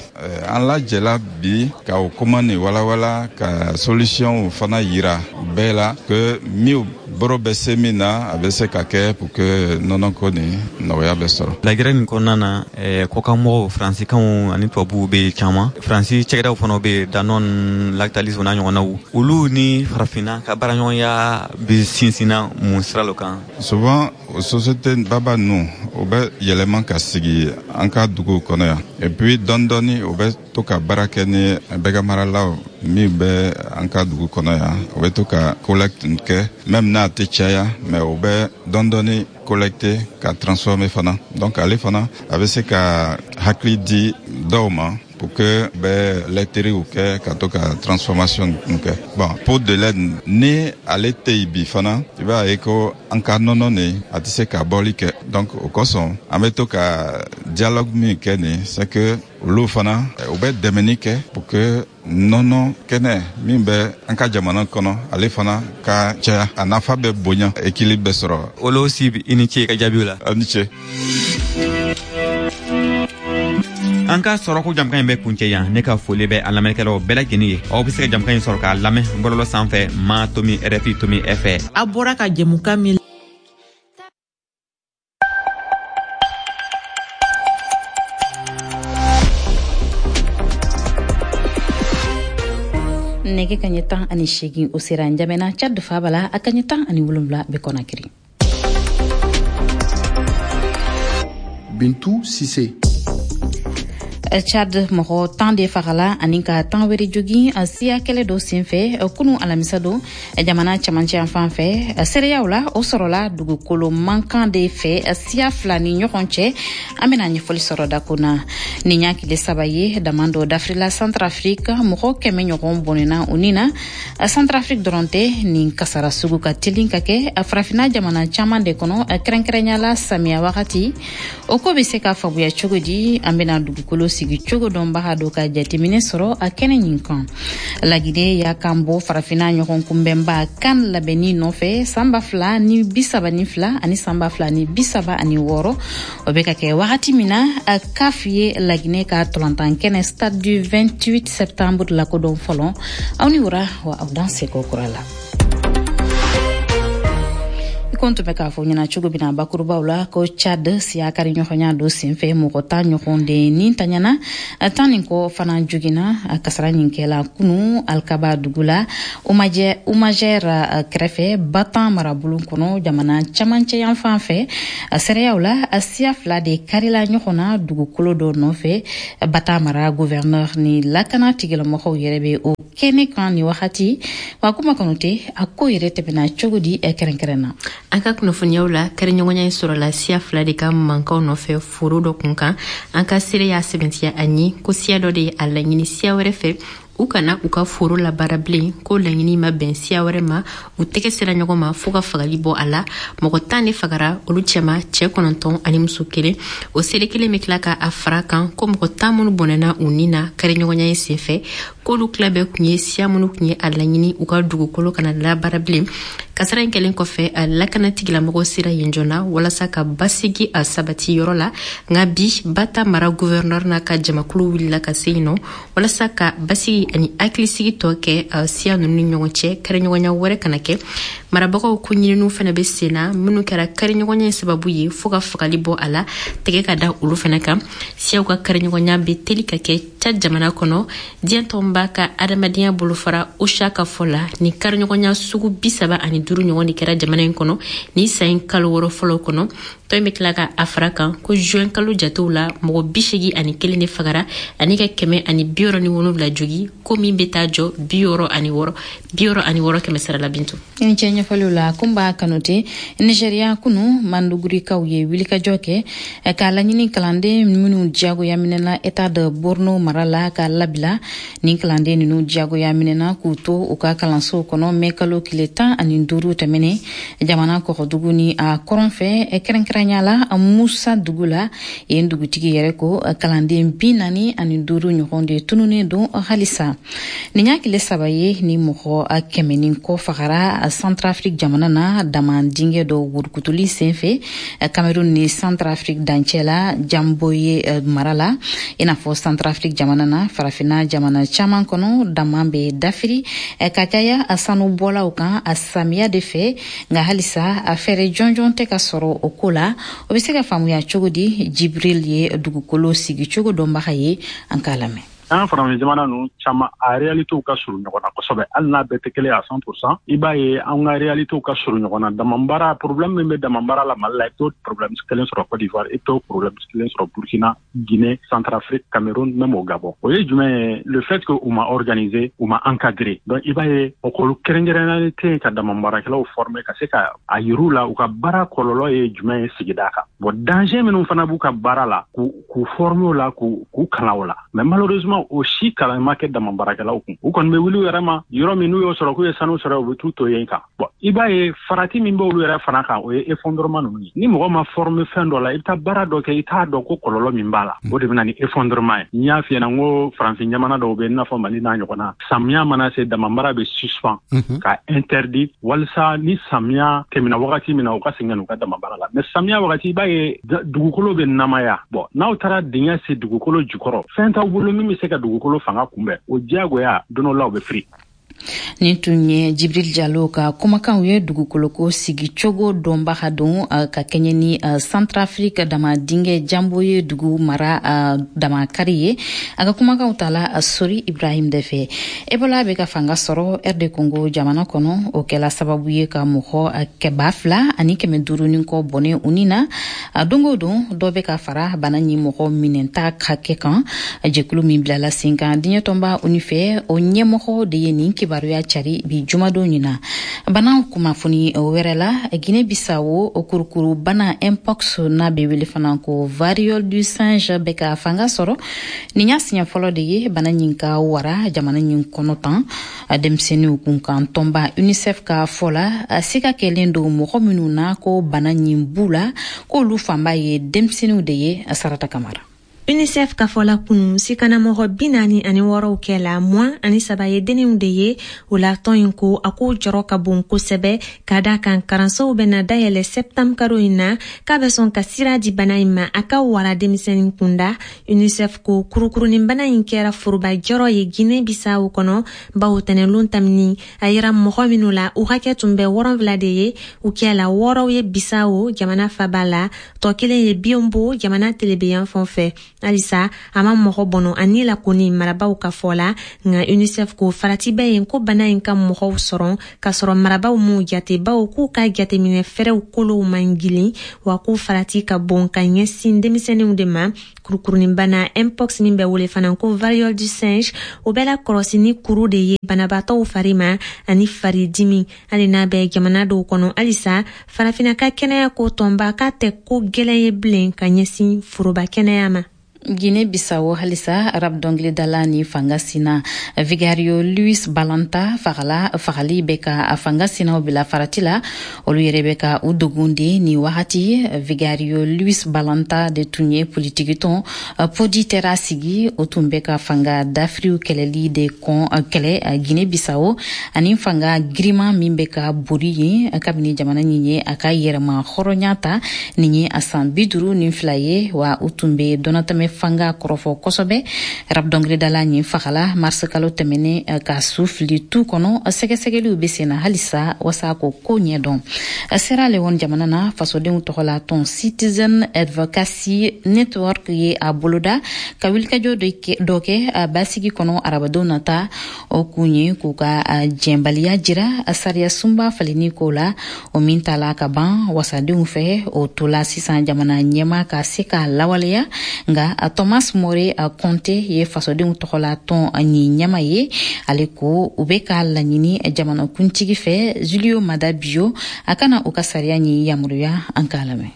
An lajɛla bi ka o kuma nin walawala, ka solution fana yira bɛɛ la que min boro bɛ se min na, a bɛ se ka kɛ pour que nɔnɔko nin nɔgɔya bɛ sɔrɔ. Lajɛrɛ nin kɔnɔna na, kɔkanmɔgɔw, faransikanw ani tubabuw bɛ caman, Faransi cɛkɛdaw fana bɛ yen, Danone, Lactalis n'a ɲɔgɔnnaw. Olu ni farafinna ka baaraɲɔgɔnya bɛ sinsinna mun sira lo kan? Souvent o société baba ninnu, o bɛ yɛlɛma ka sigi an ka duguw kɔnɔ yan. Et puis dɔɔni dɔɔni, o bɛ to ka baara kɛ ni bɛgɛmaralaw min bɛ an ka dugu kɔnɔ yan. O bɛ to ka collecte kɛ, même n'a tɛ caya, mais o bɛ dɔɔni dɔɔni collecter ka transformer fana. Donc ale fana, a bɛ se ka hakili di dɔw ma pour que bɛ laiterie kɛ ka to ka transformation kɛ. Bon, pot de lait, ni ale tɛ yen bi fana, i b'a ye ko an ka nɔnɔ nin, a tɛ se ka bɔli kɛ. Donc o kosɔn, an bɛ to ka dialogue min kɛ nin, c'est que olu fana, u bɛ dɛmɛni kɛ pour que nɔnɔ kɛnɛ min bɛ an ka jamana kɔnɔ, ale fana ka caya, a nafa bɛ bonya, équilibre bɛ sɔrɔ. Olo Sibi, i ni ce i ka jaabiw la. A ni ce. An ka sɔrɔko jamukan in bɛ kuncɛ yan. Ne ka foli bɛ an lamɛnnikɛlaw bɛɛ lajɛlen ye. Aw bɛ se ka jamukan in sɔrɔ k'a lamɛn bɔlɔlɔ sanfɛ ma tomi rfi tomi fr. A bɔra ka jɛmukan min Nɛgɛ kaɲɛ 18, o sera Njamena, Tchad faaba la. A kaɲɛ 17 bɛ Kɔnakiri. Bintu Sise. Tchad, mɔgɔ 10 de fagala ani ka 10 wɛrɛ jogin siya kɛlɛ dɔ senfɛ kunu alamisa don, jamana camancɛ yan fan fɛ. Seereyaw la, o sɔrɔla dugukolo mankan de fɛ siya fila ni ɲɔgɔn cɛ. An bɛna ɲɛfɔli sɔrɔ dako na. Nin y'a tile 3 ye, dama dɔ dafirila Centrafrique, mɔgɔ 100 ɲɔgɔn bɔnɛna u ni na. Centrafrique dɔrɔn tɛ, nin kasara sugu ka telin ka kɛ farafinna jamana caman de kɔnɔ, kɛrɛnkɛrɛnya la samiya wagati. O ko bɛ se ka faamuya cogo di? An bɛna dugukolo sigicogo dɔnbaga dɔ ka jateminɛ sɔrɔ a kɛnɛ ɲin kan. Lagine y'a kan bɔ Farafina ɲɔgɔn kunbɛnba CAN labɛnni nɔfɛ san 2032 ani san 2036. O bɛ ka kɛ wagati min na, CAF ye Laginɛ ka tolantan kɛnɛ Stade du 28 septembre lakodɔn fɔlɔ. Aw ni wura wa, aw danse ko kura la. I ko n tun bɛ k'a fɔ ɲɛna cogo min na bakurubaw la, ko Chad siya kari ɲɔgɔnya dɔ senfɛ, mɔgɔ 10 ɲɔgɔn de ni taɲana, 10 nin kɔ fana jogina. Kasara ɲin kɛla kunu Alikaba dugu la, Umajɛr kɛrɛfɛ, Batan marabolo kɔnɔ, jamana camancɛ yan fan fɛ. Sɛrɛyaw la, siya fila de karila ɲɔgɔn na dugukolo dɔ nɔfɛ. Batan mara gouverneur ni lakana tigilamɔgɔw yɛrɛ bɛ o kɛnɛ kan ni wagati. Wa kuma Kanute, a ko yɛrɛ tɛmɛna cogo di kɛrɛnkɛrɛn na? An ka kunnafoniyaw la, kariɲɔgɔnya in sɔrɔla siya fila de ka mankanw nɔfɛ foro dɔ kun kan. An ka seere y'a sɛbɛntiya an ye ko siya dɔ de ye a laɲini siya wɛrɛ fɛ u kana u ka foro labaara bilen, ko laɲini ma bɛn siya wɛrɛ ma. U tɛgɛ sera ɲɔgɔn ma fɔɔ ka fagali bɔ a la. Mɔgɔ 10 de fagara, olu cɛma cɛɛ 9 ani muso kelen. O seere kelen bɛ tila ka a fara kan ko mɔgɔ 10 minnu bɔnɛna u ni na kariɲɔgɔnya in senfɛ, k'olu tila bɛɛ kun ye siya minnu kun ye a laɲini u ka dugukolo kana labaara bilen. Kasara in kɛlen kɔfɛ, a lakana tigilamɔgɔw sera yen joona walasa ka basigi a sabati yɔrɔ la. Nka bi, Bata mara gouverneur n'a ka jamakulu wulila ka se yen nɔ walasa ka basigi ani hakilisigi tɔ kɛ siya ninnu ni ɲɔgɔn cɛ, kariɲɔgɔnya wɛrɛ kana kɛ. Marabagaw ko ɲininiw fana bɛ sen na, minnu kɛra kariɲɔgɔnya in sababu ye fɔɔ ka fagali bɔ a la, tɛgɛ ka da olu fana kan. Siyaw ka kariɲɔgɔnya bɛ teli ka kɛ Tchad jamana kɔnɔ. Diɲɛ tɔnba ka adamadenya bolofara OCHA ka fɔ la, nin kariɲɔgɔnya sugu 35 ɲɔgɔn de kɛra jamana in kɔnɔ nin san in kalo 6 fɔlɔ kɔnɔ. Tɔn in bɛ tila ka a fara kan ko juin kalo jatew la, mɔgɔ 81 de fagara ani ka 167 jogi, ko min bɛ taa jɔ 66 kɛmɛ sara la. Bintu. I ni cɛ ɲɛfɔliw la, Kunba Kanute. Nigeriya, kunu Mandugurikaw ye wulikajɔ kɛ k'a laɲini kalanden minnu diyagoya minɛna État de Borno mara la k'a labila. Nin kalanden ninnu diyagoya minɛna k'u to u ka kalansow kɔnɔ mɛ kalo tile 15 tɛmɛnen, jamana kɔgɔdugu ni a kɔrɔn fɛ, kɛrɛnkɛrɛnya la Musa dugu la. Yen dugutigi yɛrɛ ko kalanden 45 ɲɔgɔn de tununnen don halisa. Nin y'a tile 3 ye ni mɔgɔ 100 ni kɔ fagara Centrafrique jamana na, dama dingɛ dɔ wurukutuli senfɛ Cameroun ni Centrafrique dancɛ la, Jamboye mara la. I n'a fɔ Centrafrique jamana na, Farafina jamana caman kɔnɔ, dama bɛ dafiri ka caya sanubɔlaw kan a samiya de fɛ. Nka halisa a fɛɛrɛ jɔnjɔn tɛ ka sɔrɔ o ko la. O bɛ se ka faamuya cogo di? Jibril ye dugukolo sigicogo dɔnbaga ye, an k'a lamɛn. An farafin jamana ninnu caman, a réalitéw ka surun ɲɔgɔn na kosɛbɛ, hali n'a bɛɛ tɛ kelen à 100%. I b'a ye an ka réalitéw ka surun ɲɔgɔn na. Damabara problème min bɛ damabara la Mali la, i t'o problème kelen sɔrɔ Côte d'Ivoire, i t'o problème kelen sɔrɔ Burkina, Guinée, Centrafrique, Cameroun, même au Gabon. O ye jumɛn ye? Le fait que u ma organisé, u ma encadré. Donc i b'a ye école kɛrɛnkɛrɛnnenya tɛ yen ka damabaarakɛlaw former, ka se ka a yir'u la u ka baara kɔlɔlɔ ye jumɛn ye sigida kan, bon, danger minnu fana b'u ka baara la, k'u former o la, k'u kalan o la. Mais malheureusement, o si kalan ma kɛ dama baarakɛlaw kun. U kɔni bɛ wuli u yɛrɛ ma yɔrɔ min, n'u y'o sɔrɔ k'u ye sanu sɔrɔ, u bɛ t'u to yen kan. Bon, i b'a ye farati min b'olu yɛrɛ fana kan, o ye effondrement ninnu ye. Ni mɔgɔ ma former fɛn dɔ la, i bɛ taa baara dɔ kɛ, i t'a dɔn ko kɔlɔlɔ min b'a la, o de bɛ na ni effondrement ye. N y'a f'i ɲɛna n ko farafin jamana dɔw bɛ yen, i n'a fɔ Mali n'a ɲɔgɔnna, samiya mana se, damabara bɛ suspend ka interdit, walisa ni samiya tɛmɛna wagati min na, u ka segin ka n'u ka damabara la. Mais samiya wagati, i b'a ye dugukolo bɛ namaya. Bon, n'aw taara dingɛ se dugukolo jukɔrɔ, fɛn t'aw bolo min bɛ se ka dugukolo fanga kunbɛn, o diyagoya don dɔ la u bɛ firi. Nin tun ye Jibril Jalo ka kumakanw ye, dugukoloko sigicogo dɔnbaga don, ka kɛɲɛ ni Centrafrique dama dingɛ Jambo ye dugu mara damakari ye. A ka kumakanw tala Sori Ibrahim de fɛ. Ebola bɛ ka fanga sɔrɔ RD Congo jamana kɔnɔ. O kɛla sababu ye ka mɔgɔ 2500 ni kɔ bɔnɛ u ni na. Don o don, dɔ bɛ ka fara bana ni mɔgɔ minɛta hakɛ kan. Jɛkulu min bilala sen kan diɲɛ tɔnba ONU fɛ, o ɲɛmɔgɔ de ye nin kibaruya cari bi jumadon ɲina. Bana kunnafoni wɛrɛ la, Guinée Bissau, kurukuru bana mpox, n'a bɛ wele fana ko variole du singe, bɛ ka fanga sɔrɔ. Nin y'a siɲɛ fɔlɔ de ye bana ɲin ka wara jamana ɲin kɔnɔ tan. Denmisɛnninw kunkan tɔnba UNICEF ka fɔ la, siga kɛlen don mɔgɔ minnu na ko bana ɲin b'u la, k'olu fanba ye denmisɛnninw de ye. Sarata Kamara. UNICEF ka fɔ la, kunu sikanamɔgɔ 46 kɛ la, 23 ye denninw de ye. O la, tɔn in ko a ko jɔrɔ ka bon kosɛbɛ, ka da kan karansow bɛna dayɛlɛ sɛptanburu karo in na, k'a bɛ sɔn ka sira di bana in ma a ka wara denmisɛnnin kunda. UNICEF ko kurukurunin bana in kɛra foroba jɔrɔ ye Guinée Bissau kɔnɔ, bawo tɛnɛlon tamini a yira mɔgɔ minnu la, u hakɛ tun bɛ 70 de ye. U kɛla, 6 ye Bissau jamana faba la, tɔ kelen ye Biombo jamana telebeyan fan fɛ. Halisa a ma mɔgɔ bɔnɔ ani la kɔni, marabaw ka fɔ la. Nka UNICEF ko farati bɛ yen ko bana in ka mɔgɔw sɔrɔ k'a sɔrɔ marabaw m'u jate, bawo k'u ka jateminɛ fɛɛrɛw kolow man gilin, wa ko farati ka bon ka ɲɛsin denmisɛnninw de ma. Kurukuruninbana mpox, min bɛ wele fana ko variole du singe, o bɛ la kɔlɔsi ni kuru de ye banabaatɔw fari ma ani faridimi. Hali n'a bɛ jamana dɔw kɔnɔ halisa, Farafina ka kɛnɛya ko tɔnba k'a tɛ ko gwɛlɛn ye bilen ka ɲɛsin foroba kɛnɛya ma. Guinée Bissau halisa, rap dɔngilidala ni fanga sina Vigario Luis Balanta fagala. Fagali bɛ ka fanga sinaw bila farati la, olu yɛrɛ bɛ ka u dogon de ni wagati. Vigario Luis Balanta de tun ye politikitɔn Podi Tera sigi. O tun bɛ ka fanga dafiriw kɛlɛli de kɔn kɛlɛ Guinée Bissau ani fanga giriman min bɛ ka bori yen kabini jamana nin ye a ka yɛrɛma hɔrɔnya ta nin ye a san 52 ye. Wa u tun bɛ dɔnatɛmɛ fanga kɔrɔfɔ kosɛbɛ. Rap dɔngilidala nin fagala mars kalo tɛmɛnen ka su fili tu kɔnɔ. Sɛgɛsɛgɛliw bɛ sen na halisa wasa ko ko ɲɛdɔn. Sierra Leone jamana na, fasodenw tɔgɔla tɔn Citizen Advocacy Network ye a boloda ka wulikajɔ dɔ kɛ a basigi kɔnɔ arabadon nata. O kun ye k'u ka jɛnbaliya jira sariya sunba falenni ko la, o min tala ka ban wasadenw fɛ. O tola sisan jamana ɲɛma ka se k'a lawaleya. Nka Thomas More Conte ye fasodenw tɔgɔla tɔn nin ɲɛma ye. Ale ko u bɛ k'a laɲini jamanakuntigi fɛ, Julio Mada Bio, a kana u ka sariya ɲi yamaruya. An k'a lamɛn.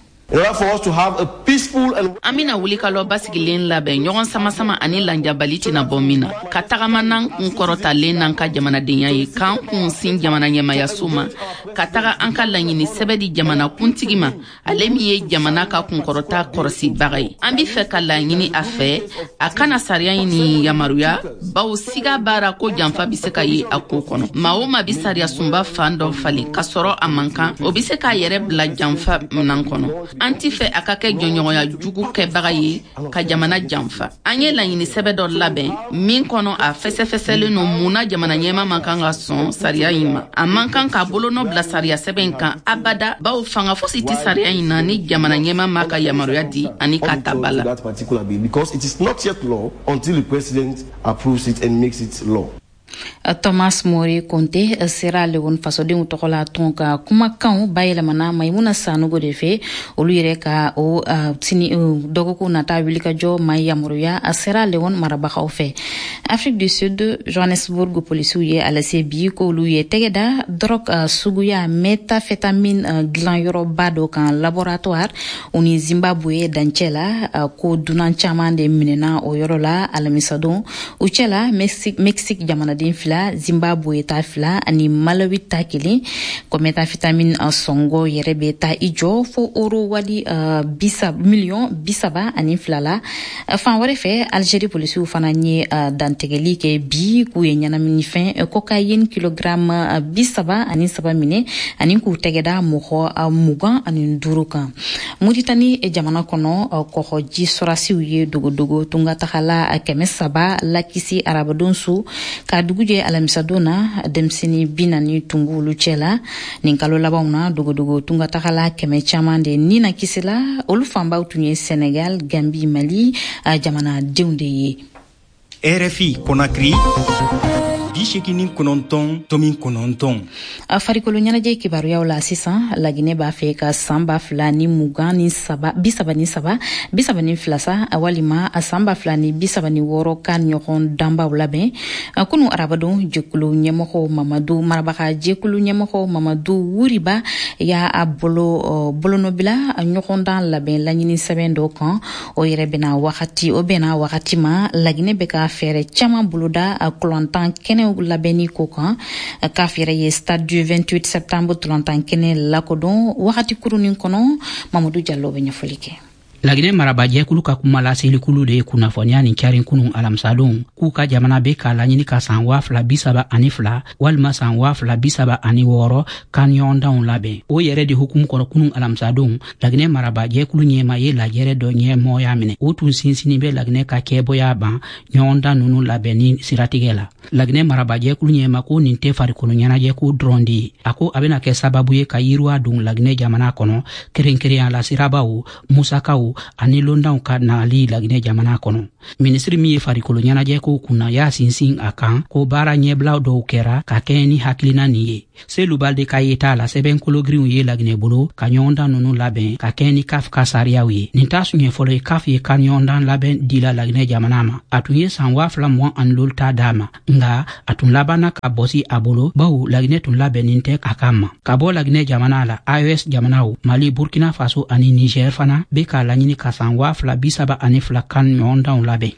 An bena wuli ka lɔ basigilen labɛn, ɲɔgɔn sama-sama ani lanjabali tɛna bɔ min na, ka tagama n'an kun kɔrɔtalen n'an ka jamanadenya ye, k'an kun sin jamana ɲɛmayaso ma, ka taga an ka laɲini sɛbɛ di jamana kuntigi ma, ale min ye jamana ka kunkɔrɔta kɔrɔsibaga ye. An be fɛ ka laɲini a fɛ a kana sariya ɲi ni yamaruya, bawo siga b'ara ko janfa be se ka ye a ko kɔnɔ. Maa o maa bi sariya sunba fan dɔ falen k'a sɔrɔ a man kan, o be se k'a yɛrɛ bila janfa minan kɔnɔ. An ti fɛ a ka kɛ jɔɲɔgɔnya jugu kɛbaga ye ka jamana janfa. An ye laɲini sɛbɛ dɔ labɛn min kɔnɔ a fɛsɛfɛsɛlen no mun na jamana ɲɛma man kan ka sɔn sariya ɲi ma. A man kan k'a bolonɔ bila sariya sɛbɛn in kan abada, bawo fanga fosi tɛ sariya ɲi na ni jamana ɲɛma ma ka yamaruya di ani k'a ta ba la. Because it is not yet law until the president approves it and makes it law. Thomas More Conte, Sierra Leone fasodenw tɔgɔla tɔn ka kumakanw bayɛlɛmana Maimuna Sanogo de fɛ. Olu yɛrɛ ka o sini dɔgɔkun nata wulikajɔ ma yamaruya a Sierra Leone marabagaw fɛ. Afrique du Sud, Johannesburg polisiw ye a lase bi k'olu ye tɛgɛ da drogue suguya méthamphétamine dilanyɔrɔba dɔ kan, laboratoire, u ni Zimbabwe dancɛ la. Ko dunan caman de minɛna o yɔrɔ la alamisadon. U cɛla, Mexique jamanaden fila, Zimbabwe ta fila ani Malawi ta kelen. Ko méthamphétamine sɔngɔ yɛrɛ bɛ taa i jɔ fo euro wali bisa miliyɔn 32 la. Fan wɛrɛ fɛ, Algérie polisiw fana ye dantigɛli kɛ bi k'u ye ɲɛnaminifɛn cocaïne kilogramme 33 minɛ ani k'u tɛgɛ da mɔgɔ 25 kan. Muritani jamana kɔnɔ, kɔgɔji sɔrasiw ye dogodogo tungatagala 300 lakisi arabadon su ka dugu jɛ alamisadon na. Denmisɛnnin 40 tun b'olu cɛ la. Nin kalo labanw na, dogodogo tungatagala kɛmɛ caman de ni na kisila. Olu fanbaw tun ye Senegal, Gambi, Mali jamanadenw de ye. RFI Conakry, 89.9. Farikolo ɲɛnajɛ kibaruyaw la sisan. Laginɛ b'a fɛ ka san 2023, 33, 32 sa, walima san 2036 ka ɲɔgɔn danbaw labɛn. Kunu arabadon, jɛkulu ɲɛmɔgɔ Mamadu, marabaga jɛkulu ɲɛmɔgɔ Mamadu Wuriba y'a bolo bolonɔbila ɲɔgɔndan labɛn laɲini sɛbɛn dɔ kan. O yɛrɛ bɛna wagati, o bɛnna wagati ma Laginɛ bɛ ka fɛɛrɛ caman boloda kulantan kɛnɛw labɛnni ko kan. CAF yɛrɛ ye stade du 28 septembre tulantan kɛnɛ lakodɔn wagati kurunin kɔnɔ. Mamadu Jalo bɛ ɲɛfɔli kɛ. Laginɛ marabajɛkulu ka kuma laselikulu de ye kunnafoniya nin carin kunun alamisadon k'u ka jamana be k'a laɲini ka san 2032 walima san 2036 CAN ɲɔgɔndanw labɛn. O yɛrɛ de hukumu kɔnɔ, kunun alamisadon, Laginɛ marabajɛkulu ɲɛma ye lajɛrɛ dɔ ɲɛmɔgɔya minɛ. O tun sinsinnin bɛ Laginɛ ka cɛbɔya ban ɲɔgɔndan nunu labɛnni siratigɛ la. Laginɛ marabajɛkulu ɲɛma ko nin tɛ farikolo ɲɛnajɛko dɔrɔn de ye. A ko a bɛna kɛ sababu ye ka yiriwa don Laginɛ jamana kɔnɔ, kɛrɛnkɛrɛnya la sirabaw, musakaw ani londanw ka nali Laginɛ jamana kɔnɔ. Minisiri min ye farikolo ɲɛnajɛkow kunna y'a sinsin a kan ko baara ɲɛbila dɔw kɛra ka kɛɲɛ ni hakilina nin ye. Selu Balde ka yeta la, sɛbɛn kologirinw ye Laginɛ bolo ka ɲɔgɔndan nunu labɛn ka kɛɲɛ ni CAF ka sariyaw ye. Nin t'a siɲɛ fɔlɔ ye CAF ye ka ɲɔgɔndan labɛn dila Laginɛ jamana ma. A tun ye san 2025 ta d'a ma, nga a tun labanna ka bɔsi a bolo, bawo Laginɛ tun labɛnnin tɛ a kama. Ka bɔ Laginɛ jamana la, AES jamanaw, Mali, Burkina Faso ani Niger fana be k'a laɲini ka san 2032 CAN ɲɔgɔndanw labɛn.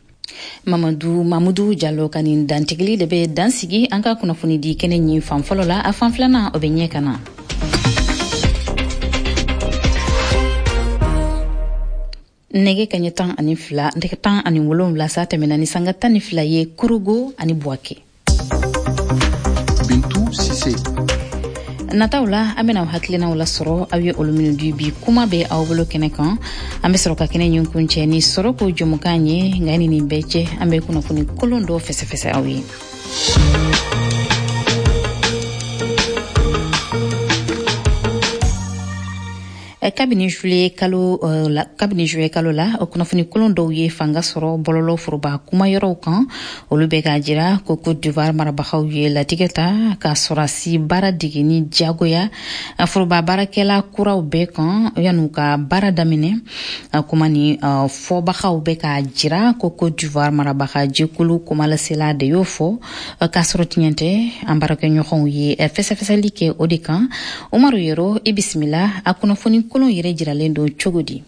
Mamadu Mamudu Jalo ka nin dantigili de bɛ dan sigi an ka kunnafoni di kɛnɛ ɲin fan fɔlɔ la. A fan filanan, o bɛ ɲɛ ka na. Nɛgɛ kaɲɛ 12, nɛgɛ 17 sa tɛmɛna ni sanga 12 ye Korogo ani Buwake. Bintu Sise. Nataw la, an bɛna aw hakilinaw lasɔrɔ, aw ye olu minnu di bi kuma bɛ aw bolo kɛnɛ kan. An bɛ sɔrɔ ka kɛnɛ ɲin kuncɛ ni sɔrɔ ko jɛmukan ye. Nka ni nin bɛɛ cɛ, an bɛ kunnafoni kolon dɔ fɛsɛfɛsɛ aw ye. Kabini juillet kalo la, o kunnafoni kolon dɔw ye fanga sɔrɔ bɔlɔlɔ foroba kumayɔrɔw kan. Olu bɛ k'a jira ko Côte d'Ivoire marabagaw ye latigɛ ta ka sɔrɔsi baara dege ni diyagoya foroba baarakɛla kuraw bɛɛ kan yan'u ka baara daminɛ. Kuma ni fɔbagaw bɛ k'a jira ko Côte d'Ivoire marabaga jɛkulu kumalasela de y'o fɔ, k'a sɔrɔ tiɲɛ tɛ. An baarakɛɲɔgɔnw ye fɛsɛfɛsɛli kɛ o de kan. Umaru Yero, i bisimila. A kunnafoni kolon yɛrɛ jiralen don cogo di?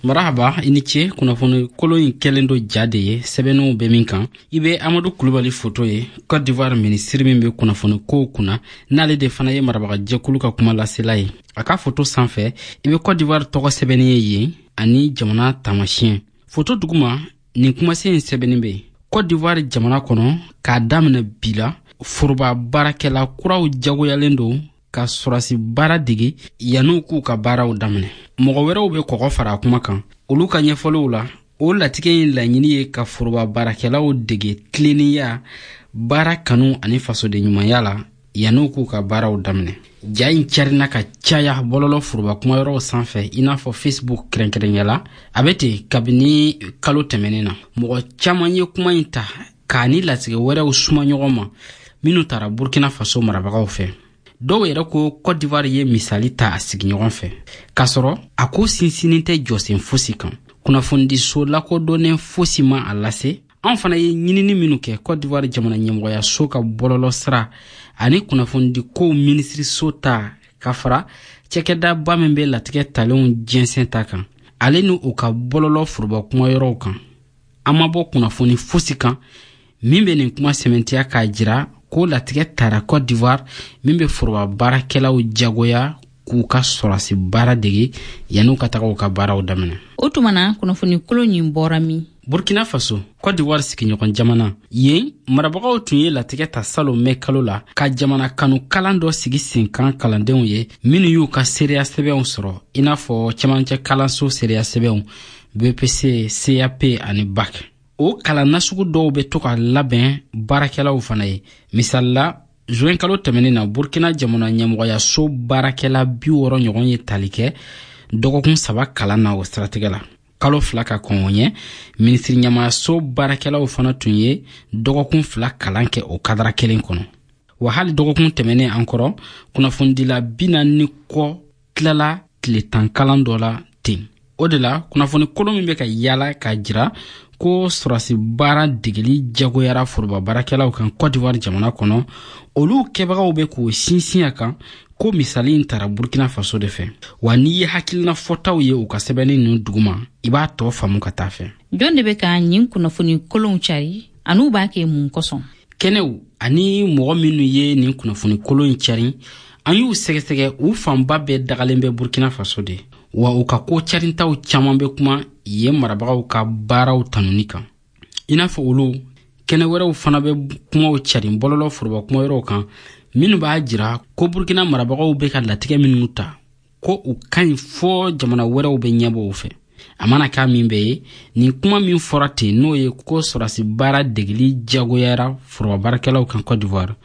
Marahaba, i ni ce. Kunnafoni kolon in kɛlen do ja de ye, sɛbɛnniw bɛ min kan. I bɛ Amadu Kulubali foto ye, Cote d'Ivoire minisiri min bɛ kunnafoni kow kunna, n'ale de fana ye marabagajɛkulu ka kuma lasela ye. A ka foto sanfɛ, i bɛ Cote d'Ivoire tɔgɔ sɛbɛnni ye yen ani jamana taamasiyɛn. Foto duguma, nin kumasen in sɛbɛnni bɛ yen: Cote d'Ivoire jamana kɔnɔ, k'a daminɛ bi la, foroba baarakɛla kuraw jagoyalen don ka sɔrɔsi baara dege yan'u k'u ka baaraw daminɛ. Mɔgɔ wɛrɛw bɛ kɔgɔ fara a kuma kan. Olu ka ɲɛfɔliw la, o latigɛ in laɲini ye ka foroba baarakɛlaw dege tilennenya, baara kanu ani fasoden ɲumanya la yan'u k'u ka baaraw daminɛ. Ja in carina ka caya bɔlɔlɔ foroba kumayɔrɔw sanfɛ, i n'a fɔ Facebook kɛrɛnkɛrɛnya la. A bɛ ten kabini kalo tɛmɛnen na. Mɔgɔ caman ye kuma in ta k'a ni latigɛ wɛrɛw suma ɲɔgɔn ma minnu tara Burkina Faso marabagaw fɛ. Dɔw yɛrɛ ko Cote d'Ivoire ye misali ta a sigiɲɔgɔn fɛ, k'a sɔrɔ a ko sinsinnin tɛ jɔsen fosi kan. Kunnafonidiso lakodɔnnen fosi ma a lase. An fana ye ɲinini minnu kɛ Cote d'Ivoire jamana ɲɛmɔgɔyaso ka bɔlɔlɔ sira ani kunnafonidikow minisiriso ta, ka fara cakɛdaba min bɛ latigɛ talenw jɛnsɛn ta kan, ale ni u ka bɔlɔlɔ foroba kumayɔrɔw kan, an ma bɔ kunnafoni fosi kan min bɛ nin kuma sɛmɛntiya k'a jira ko latigɛ tara Cote d'Ivoire min bɛ foroba baarakɛlaw jagoya k'u ka sɔrɔsi baara dege yan'u ka taga u ka baaraw daminɛ. O tuma na, kunnafoni kolon nin bɔra min? Burkina Faso, Cote d'Ivoire sigiɲɔgɔn jamana. Yen marabagaw tun ye latigɛ ta salon mɛ kalo la ka jamana kanu kalan dɔ sigi sen kan kalandenw ye minnu y'u ka seereya sɛbɛnw sɔrɔ, i n'a fɔ cɛmancɛ kalanso seereya sɛbɛnw, BEPC, CAP ani BAC. O kalan nasugu dɔw bɛ to ka labɛn baarakɛlaw fana ye. Misali la, juin kalo tɛmɛnen na, Burkina jamana ɲɛmɔgɔyaso baarakɛla 60 ɲɔgɔn ye tali kɛ dɔgɔkun 3 kalan na o siratigɛ la. Kalo 2 ka kɔn o ɲɛ, minisiri ɲɛmaayaso baarakɛlaw fana tun ye dɔgɔkun 2 kalan kɛ o kadara kelen kɔnɔ. Wa hali dɔgɔkun tɛmɛnen an kɔrɔ, kunnafonidila 40 ni kɔ tilala tile 10 kalan dɔ la ten. O de la, kunnafoni kolon min bɛ ka yaala k'a jira ko sɔrɔsi baara degeli jagoyara foroba baarakɛlaw kan Cote d'Ivoire jamana kɔnɔ, olu kɛbagaw bɛ k'o sinsin a kan ko misali in tara Burkina Faso de fɛ. Wa n'i ye hakilina fɔtaw ye u ka sɛbɛnni ninnu duguma, i b'a tɔ faamu ka taa fɛ. Jɔn de bɛ ka nin kunnafoni kolonw cari, an'u b'a kɛ mun kosɔn? Kɛnɛw ani mɔgɔ minnu ye nin kunnafoni kolon in cari, an y'u sɛgɛsɛgɛ, u fanba bɛɛ dagalen bɛ Burkina Faso de. Wa u ka ko carintaw caman bɛ kuma yen marabagaw ka baaraw tanuni kan. I n'a fɔ olu, kɛnɛ wɛrɛw fana bɛ kumaw carin bɔlɔlɔ foroba kumayɔrɔw kan minnu b'a jira ko Burkina marabagaw bɛ ka latigɛ minnu ta, ko u ka ɲi fɔɔ jamana wɛrɛw bɛ ɲɛbɔ u fɛ. A mana k'a min bɛɛ ye, nin kuma min fɔra ten, n'o ye ko sɔrɔdasi baara degeli jagoyara foroba baarakɛlaw kan Cote d'Ivoire,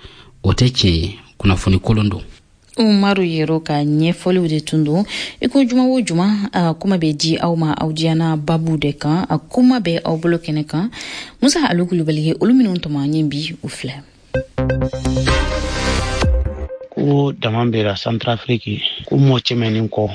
o tɛ tiɲɛ ye, kunnafoni kolon don. Umaru Yero ka ɲɛfɔliw de tun don. I ko juma o juma, kuma bɛ di aw ma aw diyana babu de kan. A kuma bɛ aw bolo kɛnɛ kan, Musa Alu Kulubali ye olu minnu tɔmɔ an ye bi, u filɛ. Ko dama bɛra Centrafrique, ko mɔɔ cɛmɛnin kɔ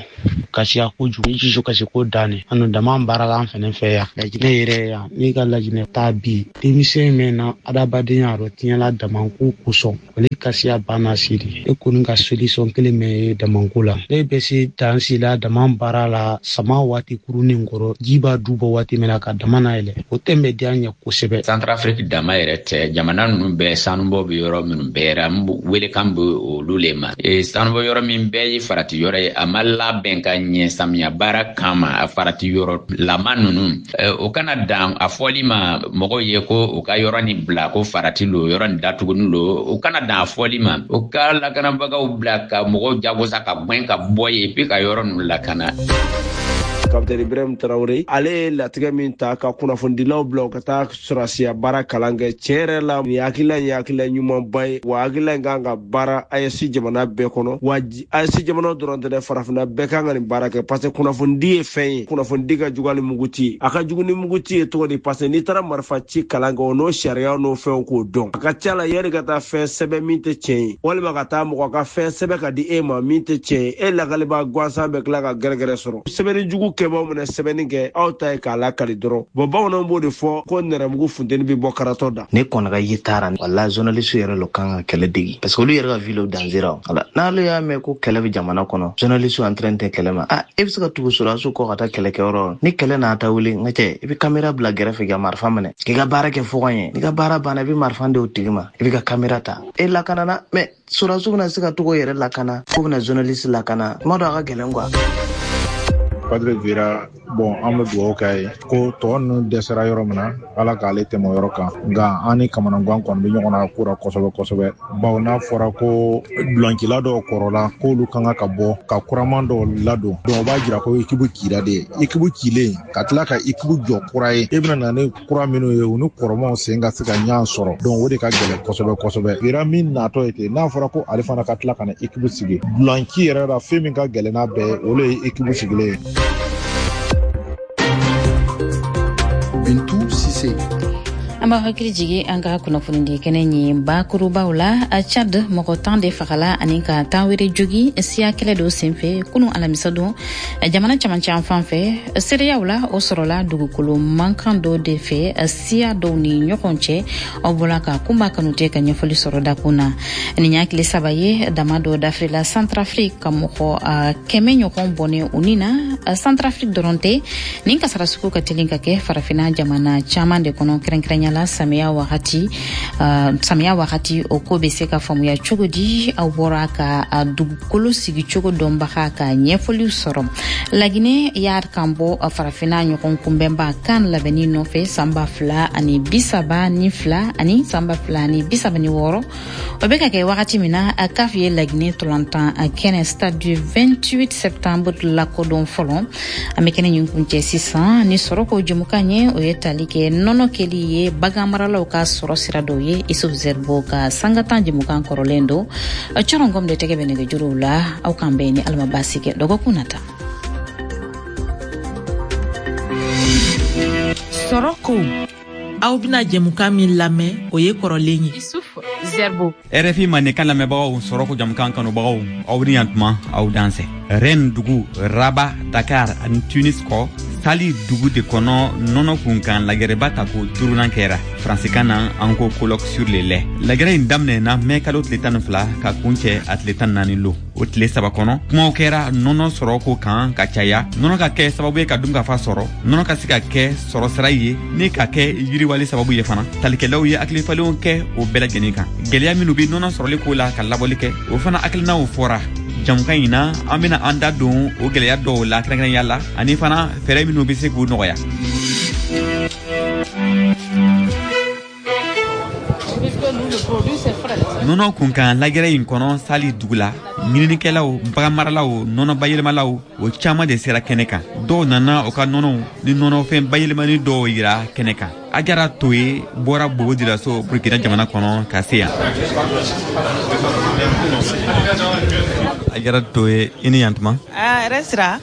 kasiya kojugu, jusu kasi ko danni anu dama baarala an fɛnɛ fɛ yan. Lajinɛ yɛrɛ yan, n'i ka lajinɛ taa bi, denmisɛn mɛn na adamadenya rɔ tiɲɛla damanko kosɔn, ale kasiya banna siri. E kɔni ka solution kelen mɛn ye damanko la, ne bɛ se dan si la dama baara la sama waati kurunin kɔrɔ, ji b'a du bɔ waati min na ka dama na yɛlɛ, o tɛ bɛ diya ɲɛ kosɛbɛ. Centrafrique dama yɛrɛ tɛ, jamana ninnu bɛɛ sanubɔ bɛ yɔrɔ minnu bɛɛ ra, welekan bɛ olu le ma. Sanubɔ yɔrɔ min bɛɛ ye farati yɔrɔ ye, a ma labɛn ka ɲɛ samiya baara kama. A farati yɔrɔ lama ninnu, o kana dan a fɔli ma mɔgɔw ye ko u ka yɔrɔ nin bila ko farati lo, yɔrɔ nin datuguni lo. O kana dan a fɔli ma, u ka lakanabagaw bila ka mɔgɔw jagosa ka gwɛn ka bɔ yen, puis ka yɔrɔ ninnu lakana. Kapitɛni Ibrahim Traoré, ale ye latigɛ min ta ka kunnafonidilaw bila u ka taa sɔrɔdasiya baara kalan kɛ, tiɲɛ yɛrɛ la, nin hakilila in ye hakilila ɲumanba ye, wa hakilila in kan ka baara AES jamana bɛɛ kɔnɔ, wa AES jamana dɔrɔn tɛ dɛ, farafinna bɛɛ kan ka nin baara kɛ, parce que kunnafonidi ye fɛn ye, kunnafonidi ka jugu ni muguti ye. A ka jugu ni muguti ye cogo di? Parce que n'i taara marifa ci kalan kɛ, o n'o sariyaw n'o fɛnw k'o dɔn, a ka ca la yanni ka taa fɛn sɛbɛn min tɛ tiɲɛ ye, walima ka taa mɔgɔ ka fɛn sɛbɛn ka di e ma min tɛ tiɲɛ ye, e lakaliba gansan bɛ tila ka gɛrɛgɛrɛ sɔrɔ. Sɛbɛnni jugu kɛbaaw mana sɛbɛnni kɛ, aw ta ye k'a lakali dɔrɔn. Bon, bamananw b'o de fɔ ko nɛrɛmugu funteni bɛ bɔ karatɔ da. Ne kɔni ka ye taara, wala journaliste yɛrɛ lo kan ka kɛlɛ degi, parce que olu yɛrɛ ka vie lo danger ra. Wala n'ale y'a mɛn ko kɛlɛ bɛ jamana kɔnɔ, journaliste en train tɛ kɛlɛ ma, ah, e bɛ se ka tugu sɔrɔdasiw kɔ ka taa kɛlɛkɛyɔrɔ? Ni kɛlɛ n'a ta wuli, n ka cɛ, i bɛ kamera bila gɛrɛfɛ ka marifa minɛ k'i ka baara kɛ fo ka ɲɛ. N'i ka baara banna, i bɛ marifa di o tigi ma, i bɛ ka kamera ta, e lakanana. Mais sɔrɔdasiw bɛna se ka togo yɛrɛ lakana, fo bɛna journaliste lakana, kuma dɔ a ka gɛlɛn quoi. Padre Vieira, bon, an bɛ dugawu k'a ye ko tɔ ninnu dɛsɛra yɔrɔ min na, Ala k'ale tɛmɛ o yɔrɔ kan. Nka an ni kamanagan kɔni bɛ ɲɔgɔn na ko la kosɛbɛ kosɛbɛ, bawo n'a fɔra ko dulancila dɔw kɔrɔla k'olu kan ka bɔ ka kuraman dɔw ladon, donc o b'a jira ko ekipu cira de. Ekipu cilen ka tila ka ekipu jɔ kura ye, e bɛna na ni kura minnu ye, u ni kɔrɔmaw sen ka se ka ɲɔgɔn sɔrɔ, donc o de ka gɛlɛn kosɛbɛ kosɛbɛ. Vieira min natɔ ye ten, n'a fɔra ko ale fana ka tila ka na ekipu sigi, dulanci yɛrɛ la, fɛn min ka gɛlɛn n'a bɛɛ ye, o de ye ekipu sigilen ye. Bintu Sise. An b'a hakili jigi an ka kunnafonidi kɛnɛ ye bakurubaw la. Chad, mɔgɔ 10 de fagala ani ka 10 wɛrɛ jogi siya kɛlɛ dɔ senfɛ kunu alamisa don jamana camancɛ an fan fɛ. Seereyaw la, o sɔrɔla dugukolo mankan dɔ de fɛ siya dɔw ni ɲɔgɔn cɛ. Aw bɔla ka Kunba Kanute ka ɲɛfɔli sɔrɔ dakun na. Nin y'a tile 3 ye dama dɔ dafirila Centrafrique ka mɔgɔ 100 ɲɔgɔn bɔnɛ u ni na. Centrafrique dɔrɔn tɛ, nin kasara sugu ka teli ka kɛ farafinna jamana caman de kɔnɔ, kɛrɛnkɛrɛnya la samiya wagati. Samiya wagati, o ko bɛ se ka faamuya cogo di? Aw bɔra ka dugukolo sigicogo dɔnbaga ka ɲɛfɔliw sɔrɔ. Laginɛ y'a kan bɔ farafinna ɲɔgɔn kunbɛnba kan labɛnni nɔfɛ san 2032 ani san 2036. O bɛ ka kɛ wagati min na, CAF ye Laginɛ tolantan kɛnɛ stade du 28 septembre lakodɔn fɔlɔ. An bɛ kɛnɛ ɲin kuncɛ sisan ni sɔrɔ ko jɛmukan ye, o ye tali kɛ nɔnɔ kɛli ye bagan maralaw ka sɔrɔ sira dɔw ye. Isuf Zerbo ka sangatan jɛmukan kɔrɔlen don. Cɔrɔngɔm de tɛgɛ bɛ nɛgɛjuruw la. Aw k'an bɛn ni Ala ma baasi kɛ dɔgɔkun nata. Sɔrɔ ko, aw bɛna jɛmukan min lamɛn, o ye kɔrɔlen ye. Isuf Zerbo. RFI mandenkan lamɛnbagaw, sɔrɔ ko jamukan kanubagaw, aw ni yantuma, aw dansɛ. Rennes dugu, Rabat, Dakar ani Tunis kɔ, Sali dugu de kɔnɔ nɔnɔ kunkan lagɛrɛba ta ko duurunan kɛra. Faransikan na, an ko colloque sur le lait. Lagɛrɛ in daminɛna mɛ kalo tile 12 ka kuncɛ a tile 14 lo. O tile 3 kɔnɔ, kumaw kɛra nɔnɔ sɔrɔ ko kan ka caya, nɔnɔ ka kɛ sababu ye ka dunkafa sɔrɔ, nɔnɔ ka se ka kɛ sɔrɔ sira ye ni ka kɛ yiriwali sababu ye fana. Talikɛlaw ye hakilifalenw kɛ o bɛɛ lajɛlen kan. Gwɛlɛya minnu be nɔnɔ sɔrɔli ko la ka labɔli kɛ, o fana hakilinaw fɔra. Jamukan in na, an bena an da don o gwɛlɛya dɔw la kɛrɛnkɛrɛnya la, ani fana fɛɛrɛ minnu be se k'u nɔgɔya. Nɔnɔ kunkan lajɛrɛ in kɔnɔ Sali dugu la, ɲininikɛlaw, baganmaralaw, nɔnɔ bayɛlɛmalaw, o caaman de sera kɛnɛ kan. Dɔw nana u ka nɔnɔw ni nɔnɔfɛn bayɛlɛmani dɔw yira kɛnɛ kan. Ajara Toye bɔra Bobo Dioulasso, Burkina jamana kɔnɔ ka se yan. Ajara Toye, i ni yantuma. Hɛrɛ sira.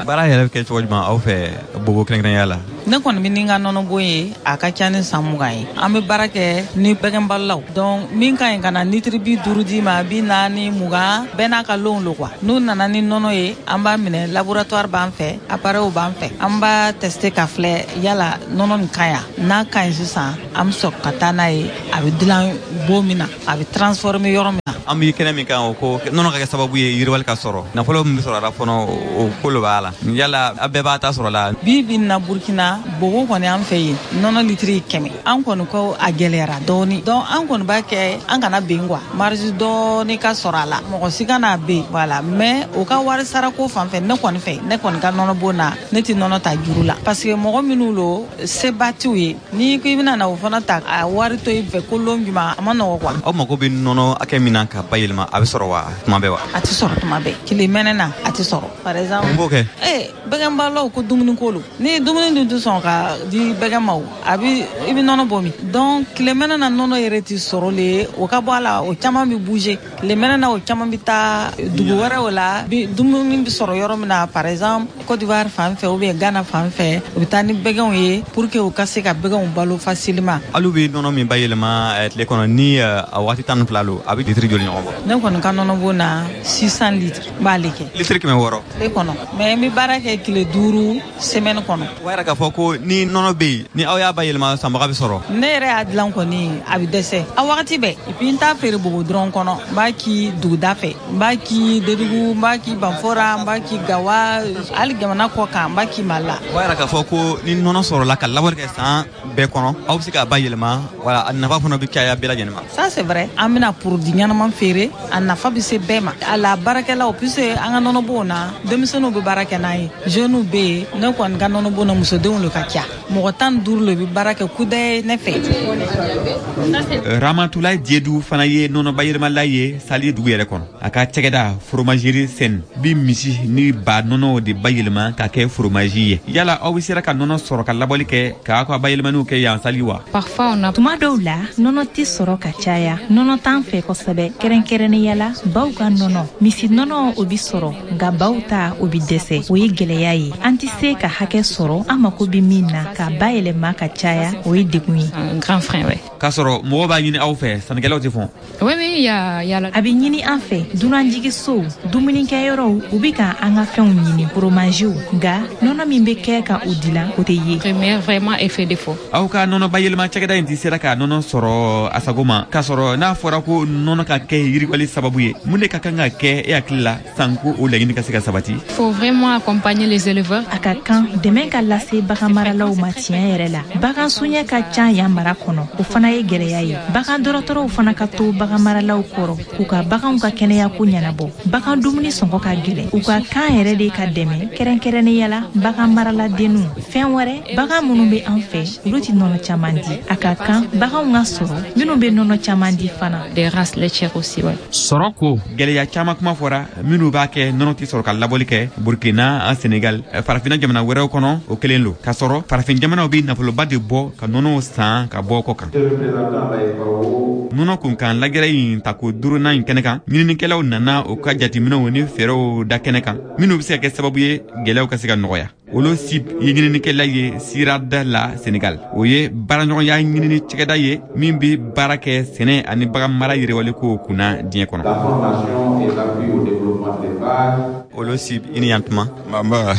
Baara yɛrɛ bɛ kɛ cogo jumɛn aw fɛ Bobo kɛrɛnkɛrɛnya la? Ne kɔni bɛ ni n ka nɔnɔbon ye, a ka ca ni san 20 ye. An bɛ baara kɛ ni bɛgɛnbalolaw. Donc min ka ɲi ka na litiri 50 d'i ma, 40, 20, bɛɛ n'a ka lonw lo quoi. N'u nana ni nɔnɔ ye, an b'a minɛ, laboratoire b'an fɛ, appareil b'an fɛ. An b'a tester ka filɛ yala nɔnɔ nin ka ɲi. N'a ka ɲi sisan, an bɛ sɔrɔ ka taa n'a ye, a bɛ dilan bon min na, a bɛ transformer yɔrɔ min na. An bɛ kɛnɛ min kan, o ko nɔnɔ ka kɛ sababu ye yiriwali ka sɔrɔ. Nafolo min bɛ sɔrɔ a la fɔlɔ, o ko lo b'a la. Yala a bɛɛ b'a ta sɔrɔ la? Bi bi in na Burkina, Bobo kɔni an fɛ yen, nɔnɔ litiri 100. An kɔni ko a gɛlɛyara dɔɔni. Donc an kɔni b'a kɛ an kana ben quoi. Marge dɔɔni ka sɔrɔ a la. Mɔgɔ si kana ben, voilà. Mais o ka wari sarako fan fɛ, ne kɔni fɛ, ne kɔni ka nɔnɔ bon na, ne tɛ nɔnɔ ta juru la. Parce que mɔgɔ minnu lo, seba t'u ye. N'i ko i bɛna na o fana ta, a wari to i fɛ ko lon juma, a ma nɔgɔ quoi. Aw mago bɛ nɔnɔ hakɛ min na ka bayɛlɛma, a bɛ sɔrɔ wa tuma bɛɛ wa? A tɛ sɔrɔ tuma bɛɛ. Tile mɛnɛ na, a tɛ sɔrɔ. Par exemple, mun b'o kɛ? Bɛgɛnbalolaw ko dumuni ko lo. Ni dumuni dun tɛ sɔn ka di bɛgɛn ma o, a bɛ, i bɛ nɔnɔ bɔ min? Donc tile mɛnɛ na nɔnɔ yɛrɛ tɛ sɔrɔ le, o ka bɔ a la, o caman bɛ bouger. Tile mɛnɛ na, o caman bɛ taa dugu wɛrɛw la, dumuni bɛ sɔrɔ yɔrɔ min na, par exemple Côte d'Ivoire fan fɛ ou bien Ghana fan fɛ, u bɛ taa ni bɛgɛnw ye pour que u ka se ka bɛgɛnw balo facilement. Alu bɛ nɔnɔ min bayɛlɛma tile kɔnɔ ni a waati 12 lo, a bɛ litiri joli ɲɔgɔn bɔ? Ne kɔni ka nɔnɔ bon na 600 litres n b'ale kɛ. Litiri 600? Tile kɔnɔ. Mais n bɛ baara kɛ tile 5 semaine kɔnɔ. O b'a yira k'a fɔ ko ni nɔnɔ bɛ yen, ni aw y'a bayɛlɛma, sanbaga bɛ sɔrɔ. Ne yɛrɛ y'a dilan kɔni, a bɛ dɛsɛ. A wagati bɛɛ. Et puis n t'a feere Bobo dɔrɔn kɔnɔ. N b'a ki duguda fɛ, n b'a ki Dédougou, n b'a ki Banfora, n b'a ki Gawa, hali jamana kɔ kan, n b'a ki Mali la. O b'a yira k'a fɔ ko ni nɔnɔ sɔrɔla ka labɔli kɛ san bɛɛ kɔnɔ, aw bɛ se k'a bayɛlɛma, wala a nafa fana bɛ caya bɛɛ lajɛlen ma. Ça c'est vrai. An bɛna produit ɲɛnama feere, a nafa bɛ se bɛɛ ma. A la baarakɛlaw, puisque an ka nɔnɔbonw na, denmisɛnninw bɛ baara kɛ n'a ye, jeunes bɛ yen. Ne kɔni ka nɔnɔbon na, musodenw le ka ca. Mɔgɔ 15 le bɛ baara kɛ kudaye ne fɛ. Ramatulaye Diédou fana ye nɔnɔ bayɛlɛmala ye Sali dugu yɛrɛ kɔnɔ. A ka cakɛda foromagerie Sen bi misi ni ba nɔnɔw de bayɛlɛma ka kɛ foromaji ye. Yala aw bɛ sera ka nɔnɔ sɔrɔ ka labɔli kɛ k'a ka bayɛlɛmaniw kɛ yan Sali wa? Parfois on a Tuma dɔw la nɔnɔ tɛ sɔrɔ ka caya. Nɔnɔ t'an fɛ kosɛbɛ, kɛrɛnkɛrɛnnenya la baw ka nɔnɔ. Misi nɔnɔ o bi sɔrɔ, nka baw ta o bi dɛsɛ. O ye gɛlɛya ye. An tɛ se ka hakɛ sɔrɔ an mako bɛ min na k'a bayɛlɛma ka caya, o ye degun ye. Un grand frein, ouais. K'a sɔrɔ mɔgɔw b'a ɲini aw fɛ, sannikɛlaw tɛ fɔn. Oui, oui, il y a, il y a la... A bɛ ɲini an fɛ, dunanjiginsow, dumunikɛyɔrɔw, u bɛ ka an ka fɛnw ɲini, foromaziw, nka nɔnɔ min bɛ kɛ ka u dilan, o tɛ ye. Premier, vraiment, effet défaut. Aw ka nɔnɔ bayɛlɛma cakɛda in tɛ sera ka nɔnɔ sɔrɔ a sago ma, k'a sɔrɔ n'a fɔra ko nɔnɔ ka kɛ yiriwali sababu ye, mun de ka kan ka kɛ e hakili la sanko o laɲini ka se ka sabati? Il faut vraiment accompagner les éleveurs. A ka kan dɛmɛ ka lase baganmaralaw ma tiɲɛ yɛrɛ la. Bagan soɲɛ ka ca yan mara kɔnɔ, o fana ye gɛlɛya ye. Bagan dɔgɔtɔrɔw fana ka to baganmaralaw kɔrɔ k'u ka baganw ka kɛnɛya ko ɲɛnabɔ. Bagan dumuni sɔngɔ ka gɛlɛn, u ka kan yɛrɛ de ka dɛmɛ, kɛrɛnkɛrɛnnenya la bagan maraladenninw. Fɛn wɛrɛ, bagan minnu bɛ an fɛ, olu tɛ nɔnɔ caman di. A ka kan baganw ka sɔrɔ minnu bɛ nɔnɔ caman di fana. Des races laitières aussi, ouais. Sɔrɔ ko gɛlɛya caman kuma fɔra minnu b'a kɛ nɔnɔ tɛ sɔrɔ ka labɔli kɛ Burkina, Senegal, farafinna jamana wɛrɛw kɔnɔ, o kelen lo. K'a sɔrɔ farafin jamanaw bɛ nafoloba de bɔ ka nɔnɔw san ka bɔ kɔ kan. Nɔnɔ kunkan lajɛrɛ in tako 5nan in kɛnɛ kan, ɲininikɛlaw nana u ka jateminɛw ni fɛɛrɛw da kɛnɛ kan minnu bɛ se ka kɛ sababu ye gɛlɛyaw ka se ka nɔgɔya. Olu si ye ɲininikɛla ye Sirada la Senegal. O ye baaraɲɔgɔnya ɲinini cakɛda ye min bɛ baara kɛ sɛnɛ ani bagan mara yiriwali kow kunna diɲɛ kɔnɔ. Olu si i ni yan tuma. Mamba.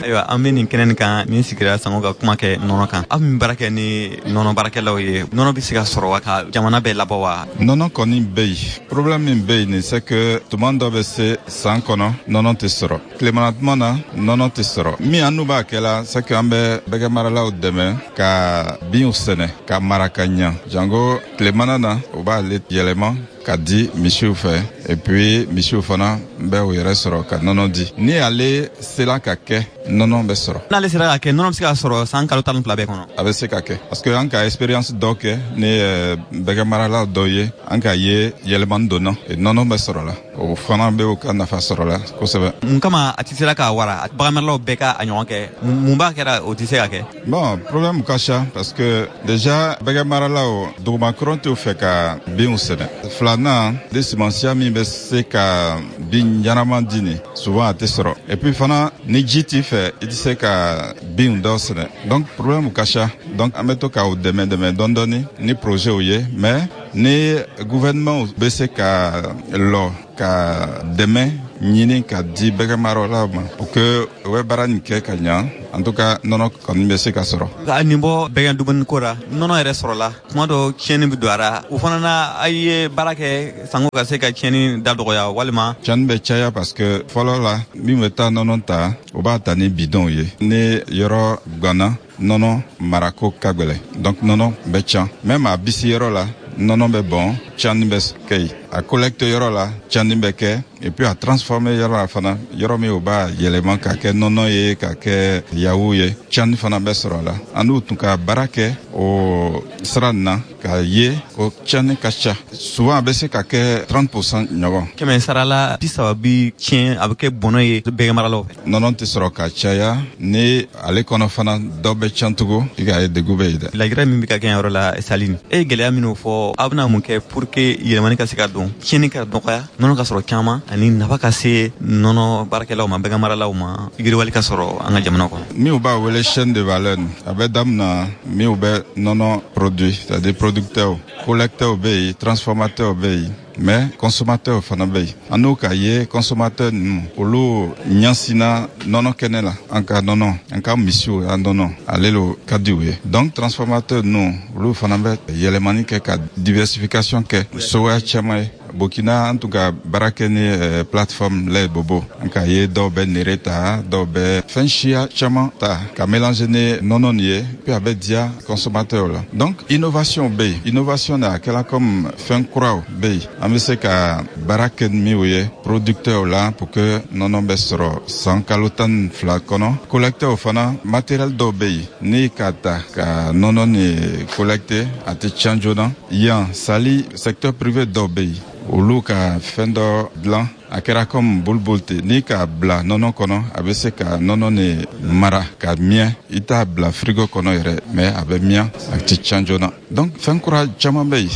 Ayiwa, an bɛ nin kɛnɛ nin kan min sigira sango ka kuma kɛ nɔnɔ kan. Aw min baara kɛ ni nɔnɔ baarakɛlaw ye, nɔnɔ bɛ se ka sɔrɔ wa ka jamana bɛɛ labɔ wa? Nɔnɔ kɔni bɛ yen. Problème min bɛ yen nin, c'est que tuma dɔ bɛ se san kɔnɔ nɔnɔ tɛ sɔrɔ. Tilemana tuma na nɔnɔ tɛ sɔrɔ. Min an n'u b'a kɛ la, c'est que an bɛ bɛgɛmaralaw dɛmɛ ka binw sɛnɛ ka mara ka ɲa. Jango tilemana na, u b'ale yɛlɛma ka di misiw fɛ, et puis misiw fana bɛ u yɛrɛ sɔrɔ ka nɔnɔ di. Ni ale sera ka kɛ, nɔnɔ bɛ sɔrɔ. N'ale sera ka kɛ, nɔnɔ bɛ se ka sɔrɔ san kalo 12 bɛɛ kɔnɔ? A bɛ se ka kɛ, parce que an ka expérience dɔ kɛ ni bɛgɛmarala dɔ ye, an ka ye yɛlɛmani donna, nɔnɔ bɛ sɔrɔ la, o fana bɛ u ka nafa sɔrɔ la kosɛbɛ. Mun kama a tɛ sera ka wara, baganmaralaw bɛɛ ka a ɲɔgɔn kɛ? Mun b'a kɛra o tɛ se ka kɛ? Bon, problème ka ca, parce que déjà bɛgɛmaralaw dugumakɔrɔ t'u fɛ ka binw sɛnɛ. Filanan de, sumansiya min bɛ se ka bin ɲɛnama di nin, souvent a tɛ sɔrɔ. Et puis fana, ni ji t'i fɛ, i tɛ se ka binw dɔ sɛnɛ. Donc problème ka ca. Donc an bɛ to k'u dɛmɛ dɛmɛ dɔɔni dɔɔni ni projet ye, mais ni gouvernement bɛ se ka lɔ ka dɛmɛ ɲini ka di bɛgɛmaralaw ma pour que u bɛ baara nin kɛ ka ɲa, en tout cas nɔnɔ kɔni bɛ se ka sɔrɔ. Ka nin bɔ bɛgɛn dumuni ko ra, nɔnɔ yɛrɛ sɔrɔla kuma dɔ, tiɲɛni bɛ don a ra. O fana na, a ye baara kɛ sanko ka se ka tiɲɛni da dɔgɔya walima? Tiɲɛni bɛ caya, parce que fɔlɔ la, min bɛ taa nɔnɔ ta, o b'a ta ni bidɔnw ye. Ni yɔrɔ ganna, nɔnɔ marako ka gwɛlɛ, donc nɔnɔ bɛ can. Même a bisi yɔrɔ la, nɔnɔ bɛ bɔn, tiɲɛni bɛ kɛ yen. A collecte yɔrɔ la, tiɲɛni bɛ kɛ. Et puis a transformer yɔrɔ la fana, yɔrɔ min o b'a yɛlɛma ka kɛ nɔnɔ ye, ka kɛ yaourt ye, tiɲɛni fana bɛ sɔrɔ a la. An n'u tun ka baara kɛ o sira nin na, k'a ye ko tiɲɛni ka ca. Souvent a bɛ se ka kɛ 30% ɲɔgɔn. Kɛmɛ sarala 30 bi tiɲɛ, a bɛ kɛ bɔnɔ ye bɛgɛmaralaw fɛ. Nɔnɔ tɛ sɔrɔ ka caya, ni ale kɔnɔ fana dɔ bɛ tiɲɛ tugun, i k'a ye degun bɛ yen dɛ. Lajɛrɛ min bɛ ka kɛ yɔrɔ la, Saline, e ye gɛlɛya minnu fɔ, aw bɛna mun kɛ pour que yɛlɛmani ka se ka don, tiɲɛni ka dɔgɔya, nɔnɔ ka sɔrɔ caman, ani nafa ka se nɔnɔ baarakɛlaw ma, bɛgɛmaralaw ma, yiriwali ka sɔrɔ an ka jamana kɔnɔ? Minnu b'a wele chaîne de valeur, a bɛ daminɛ minnu bɛ nɔnɔ produit, c'est-à-dire producteurs, collecteurs bɛ yen, transformateurs bɛ yen, mais consommateur fana bɛ yen. An n'o k'a ye consommateur ninnu, olu ɲɛsinna nɔnɔ kɛnɛ la. An ka nɔnɔ, an ka misiw an nɔnɔ, ale lo ka di u ye. Donc transformateur ninnu, olu fana bɛ yɛlɛmani kɛ ka diversification kɛ sogoya caman ye. Burkina, an tun ka baara kɛ ni plateforme lait bobo. An k'a ye dɔw bɛ nere ta, dɔw bɛ fɛn siya caman ta ka mélanger ni nɔnɔ nin ye, puis a bɛ diya consommateur la. Donc innovation bɛ yen. Innovation na, a kɛla comme fɛn kuraw bɛ yen, an bɛ se ka baara kɛ ni minnu ye producteur la pour que nɔnɔ bɛ sɔrɔ san kalo 12 kɔnɔ. Collecteur fana, matériel dɔw bɛ yen, ni k'a ta ka nɔnɔ ni collecter, a tɛ tiɲɛ joona. Yan Sali, secteur privé dɔw bɛ yen, olu ka fɛn dɔ dilan, a kɛra comme boliboli ten, n'i k'a bila nɔnɔ kɔnɔ, a bɛ se ka nɔnɔ ni mara ka miyɛ. I t'a bila frigo kɔnɔ yɛrɛ, mais a bɛ miyɛ, a tɛ tiɲɛ joona. Donc fɛn kura caman bɛ yen.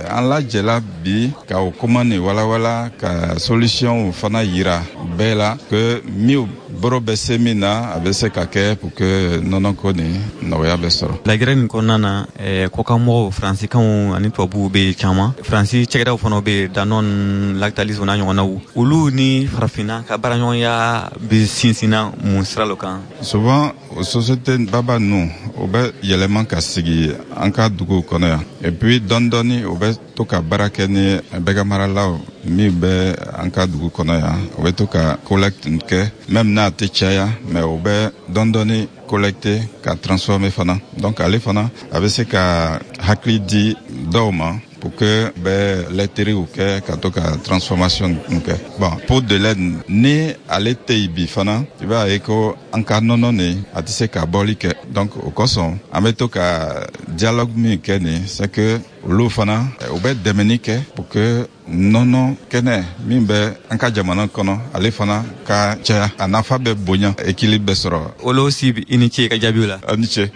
An lajɛla bi ka o kuma nin walawala, ka solution fana yira bɛɛ la que min bɔrɔ bɛ se min na, a bɛ se ka kɛ pour que nɔnɔ ko nin nɔgɔya bɛ sɔrɔ. Lajɛrɛ nin kɔnɔna na, kɔkanmɔgɔw, faransikanw ani tubabuw bɛ caman, Faransi cakɛdaw fana bɛ, Danone, Lactalis n'a ɲɔgɔnnaw. Olu ni farafinna ka baaraɲɔgɔnya bɛ sinsinna mun sira lo kan? Souvent o société baba ninnu, o bɛ yɛlɛma ka sigi an ka duguw kɔnɔ yan, et puis dɔɔni dɔɔni o bɛ to ka baara kɛ ni bɛgɛmaralaw min bɛ an ka dugu kɔnɔ yan. O bɛ to ka collecte kɛ, même n'a tɛ caya, mais o bɛ dɔɔni dɔɔni collecter ka transformer fana. Donc ale fana, a bɛ se ka hakili di dɔw ma pour que bɛ laiteriew kɛ ka to ka transformation kɛ. Bon, pot de lait, ni ale tɛ yen bi fana, i b'a ye ko an ka nɔnɔ nin, a tɛ se ka bɔli kɛ. Donc o kosɔn, an bɛ to ka dialogue min kɛ nin, c'est que olu fana, u bɛ dɛmɛni kɛ pour que nɔnɔ kɛnɛ min bɛ an ka jamana kɔnɔ, ale fana ka caya, a nafa bɛ bonya, équilibre bɛ sɔrɔ. Olo Sibi, i ni ce ka jaabiw la. A ni ce.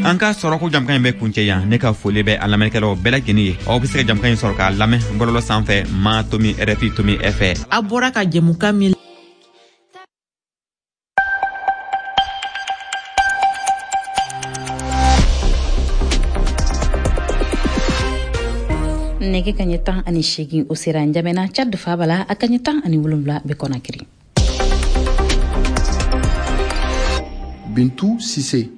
An ka sɔrɔko jamukan in bɛ kuncɛ yan. Ne ka foli bɛ an lamɛnnikɛlaw bɛɛ lajɛlen ye. Aw bɛ se ka jamukan in sɔrɔ k'a lamɛn bɔlɔlɔ sanfɛ, ma tomi rfi tomi fr. A bɔra ka jɛmukan min Nɛgɛ ka ɲɛ 18, o sera Njamena, Tchad faaba la. A ka ɲɛ 17 bɛ Kɔnakiri. Bintu Sise.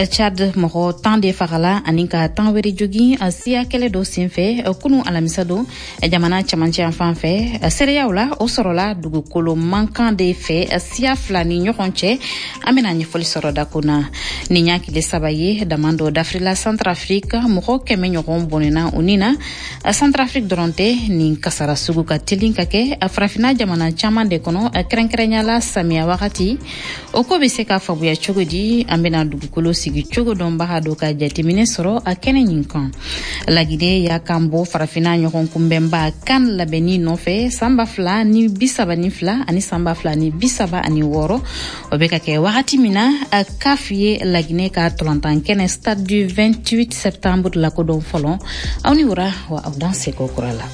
Chad, mɔgɔ 10 de fagala ani ka 10 wɛrɛ jogin siya kɛlɛ dɔ senfɛ kunu alamisa don jamana camancɛ yan fan fɛ. Seereyaw la, o sɔrɔla dugukolo mankan de fɛ siya fila ni ɲɔgɔn cɛ. An bena ɲɛfɔli sɔrɔ dako na. Nin y'a tile 3 ye daman dɔ dafirila Centrafrique, mɔgɔ 100 ɲɔgɔn bɔnɛna u ni na. Centrafrique dɔrɔn tɛ, nin kasara sugu ka telin ka kɛ farafina jamana caman de kɔnɔ, kɛrɛnkɛrɛnya la samiya wagati. O ko bɛ se ka faamuya cogo di? An bena dugukolo sigi cogo dɔnbaga dɔ ka jateminɛ sɔrɔ a kɛnɛ ɲin kan. Lagine y'a kan bɔ farafina ɲɔgɔn kunbɛnba kan labɛnni nɔfɛ san 2032 ani san 2036. O bɛ ka kɛ wagati min na CAF ye Lagine ka tolantan kɛnɛ stade du 28 septembre lakodɔn fɔlɔ. Aw ni wura wa aw dan seko kura la.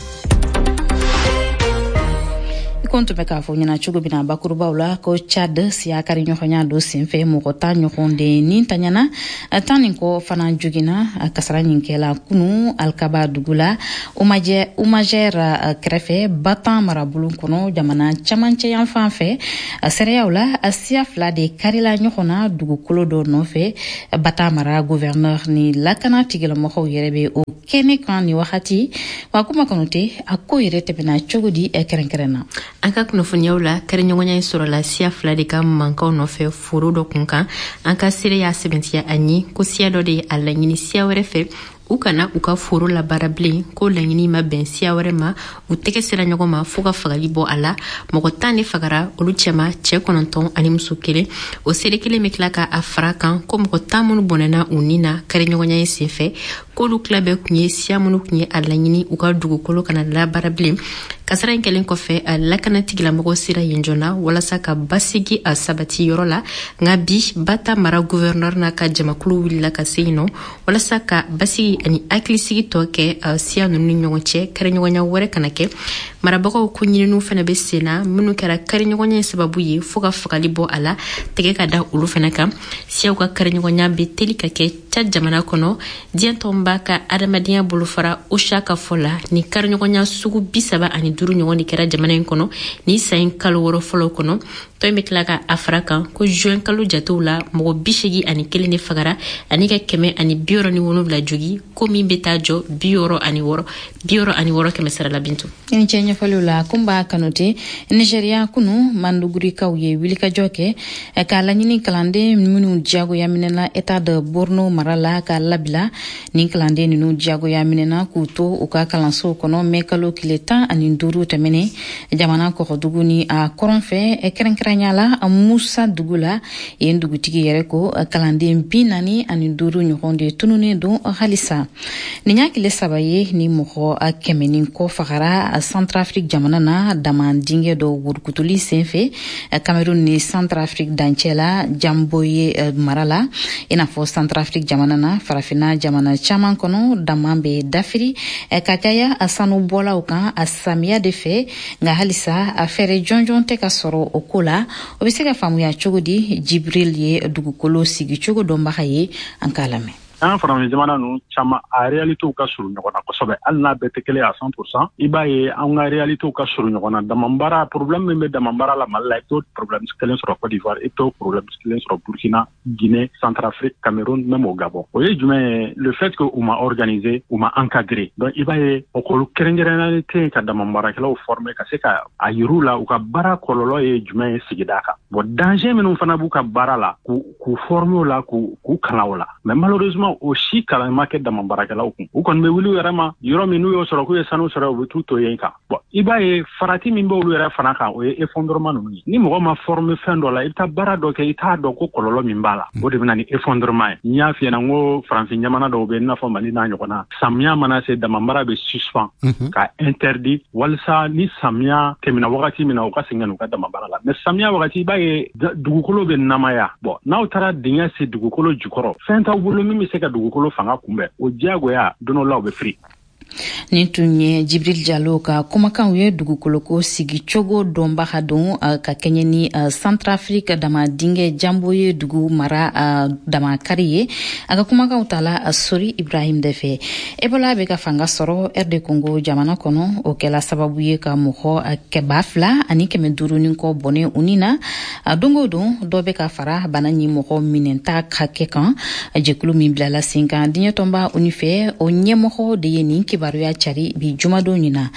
Ko tun bɛ k'a fɔ ɲɛna cogo min na bakurubaw la ko Chad siya kari ɲɔgɔnya dɔ senfɛ, mɔgɔ 10 ɲɔgɔn de ni taɲana, 10 nin kɔ fana joginna. Kasara ɲin kɛla kunu Alkaba dugu la, Umajɛr kɛrɛfɛ, Batan marabolo kɔnɔ, jamana camancɛ yan fan fɛ. Seereyaw la, siya fila de karila ɲɔgɔn na dugukolo dɔ nɔfɛ. Batan mara gouverneur ni lakana tigilamɔgɔw yɛrɛ bɛ o kɛnɛ kan ni wagati. Wa kuma kɔnɔ tɛ, a ko yɛrɛ tɛmɛna cogo di kɛrɛnkɛrɛn na? An ka kunnafoniyaw la, kariɲɔgɔnya in sɔrɔla siya fila de ka mankanw nɔfɛ foro dɔ kun kan. An ka seere y'a sɛbɛntiya a ɲi ko siya dɔ de ye a laɲini siya wɛrɛ fɛ u kana u ka foro labaara bilen, ko laɲini ma bɛn siya wɛrɛ ma, u tɛgɛ sera ɲɔgɔn ma fɔɔ ka fagali bɔ a la. Mɔgɔ 10 de fagara, olu cɛma cɛɛ 9 ani muso 1. O seere kelen bɛ tila ka a fara kan ko mɔgɔ 10 minnu bɔnɛna u ni na kariɲɔgɔnya in senfɛ, k'olu tila bɛɛ kun ye siya minnu kun ye a laɲini u ka dugukolo kana labaara bilen. Kasara in kɛlen kɔfɛ, a lakana tigilamɔgɔw sera yen joona walasa ka basigi a sabati yɔrɔ la. Nka bi, Bata mara gouverneur n'a ka jamakulu wulila ka se yen nɔ walasa ka basigi ani hakilisigi tɔ kɛ siya ninnu ni ɲɔgɔn cɛ, kariɲɔgɔnya wɛrɛ kana kɛ. Marabagaw ko ɲininiw fana bɛ sen na minnu kɛra kariɲɔgɔnya sababu ye fo ka fagali bɔ a la, tɛgɛ ka da olu fana kan. Siyaw ka kariɲɔgɔnya bɛ teli ka kɛ Tchad jamana kɔnɔ. Diɲɛ tɔnba ka adamadenya bolofara OCHA ka fɔ la, ni kariɲɔgɔnya sugu 35 ɲɔgɔn de kɛra jamana in kɔnɔ ni san in kalo 6 fɔlɔ kɔnɔ. Tɔn in bɛ tila ka a fara kan ko juin kalo jatew la, mɔgɔ 81 de fagara ani ka 167 jogi, ko min bɛ taa jɔ 66 kɛmɛ sara la. Bintu, i ni ce ɲɛfɔliw la. Kunba Kanute. Nigeria, kunu Mandugurikaw ye wulikajɔ kɛ k'a laɲini kalanden minnu diyagoya minɛna état de Borno mara la k'a labila. Nin kalanden ninnu diyagoya minɛna k'u to u ka kalansow kɔnɔ mɛ kalo tile 15 tɛmɛnen, jamana kɔgɔdugu ni a kɔrɔn fɛ, kɛrɛnkɛrɛnya la Musa dugu la. Yen dugutigi yɛrɛ ko kalanden 45 ɲɔgɔn de tununnen don halisa. Nin y'a tile 3 ye ni mɔgɔ 100 ni kɔ fagara Centrafrique jamana na dama dingɛ dɔ wurukutuli senfɛ Cameroun ni Centrafrique dancɛ la, Jamboye mara la. I n'a fɔ Centrafrique jamana na, farafinna jamana caman kɔnɔ dama bɛ dafiri ka caya sanubɔlaw kan a samiya de fɛ. Nka halisa a fɛɛrɛ jɔnjɔn tɛ ka sɔrɔ o ko la. O bɛ se ka faamuya cogo di? Jibril ye dugukolo sigicogo dɔnbaga ye, an k'a lamɛn. An farafin jamana ninnu caman, a réalitéw ka surun ɲɔgɔn na kosɛbɛ. Hali n'a bɛɛ tɛ kelen à 100%, i b'a ye an ka réalitéw ka surun ɲɔgɔn na. Damanbaara problème min bɛ damanbaara la Mali la, i t'o problème kelen sɔrɔ Côte d'Ivoire, i t'o problème kelen sɔrɔ Burkina, Guinée, Centrafrique, Cameroun, même au Gabon. O ye jumɛn ye? Le fait que u ma organisé, u ma encadré. Donc i b'a ye école kɛrɛnkɛrɛnnenya tɛ yen ka damanbaarakɛlaw former ka se ka a yir'u la u ka baara kɔlɔlɔ ye jumɛn ye sigida kan. Bon, danger minnu fana b'u ka baara la, k'u former o la, k'u kalan o la. Mais malheureusement, o si kalan ma kɛ dama baarakɛlaw kun. U kɔni bɛ wuli u yɛrɛ ma yɔrɔ min, n'u y'o sɔrɔ k'u ye sanu sɔrɔ, u bɛ t'u to yen kan. Bon, i b'a ye farati min b'olu yɛrɛ fana kan, o ye effondrement ninnu ye. Ni mɔgɔ ma former fɛn dɔ la, i bɛ taa baara dɔ kɛ, i t'a dɔn ko kɔlɔlɔ min b'a la, o de bɛ na ni effondrement ye. N y'a f'i ɲɛna n ko farafin jamana dɔw bɛ yen, i n'a fɔ Mali n'a ɲɔgɔnna, samiya mana se, damanbaara bɛ suspend ka interdit walisa ni samiya tɛmɛna wagati min na, u ka segin ka n'u ka damanbaara la. Mais samiya wagati, i b'a ye dugukolo bɛ namaya. Bon, n'aw taara dingɛ sen dugukolo jukɔrɔ, fɛn t'aw bolo min bɛ se ka dugukolo fanga kunbɛn, o diyagoya don dɔ la u bɛ firi. Nin tun ye Jibril Jalo ka kumakanw ye. Dugukoloko sigicogo dɔnbaga don ka kɛɲɛ ni Centrafrique dama dingɛ Jambo ye dugu mara damakari ye. A ka kumakanw tala Sori Ibrahim de fɛ. Ebola bɛ ka fanga sɔrɔ RD Congo jamana kɔnɔ. O kɛla sababu ye ka mɔgɔ 2500 ni kɔ bɔnɛ u ni na. Don o don, dɔ bɛ ka fara bana ɲi mɔgɔ minɛnta hakɛ kan. Jɛkulu min bilala sen kan diɲɛ tɔnba ONU fɛ, o ɲɛmɔgɔ de ye nin kibaruya cari bi jumadon ɲina.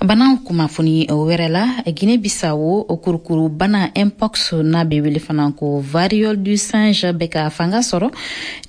Bana kunnafoni wɛrɛ la, Guinée Bissau, kurukuru bana mpox, n'a bɛ wele fana ko variole du singe, bɛ ka fanga sɔrɔ.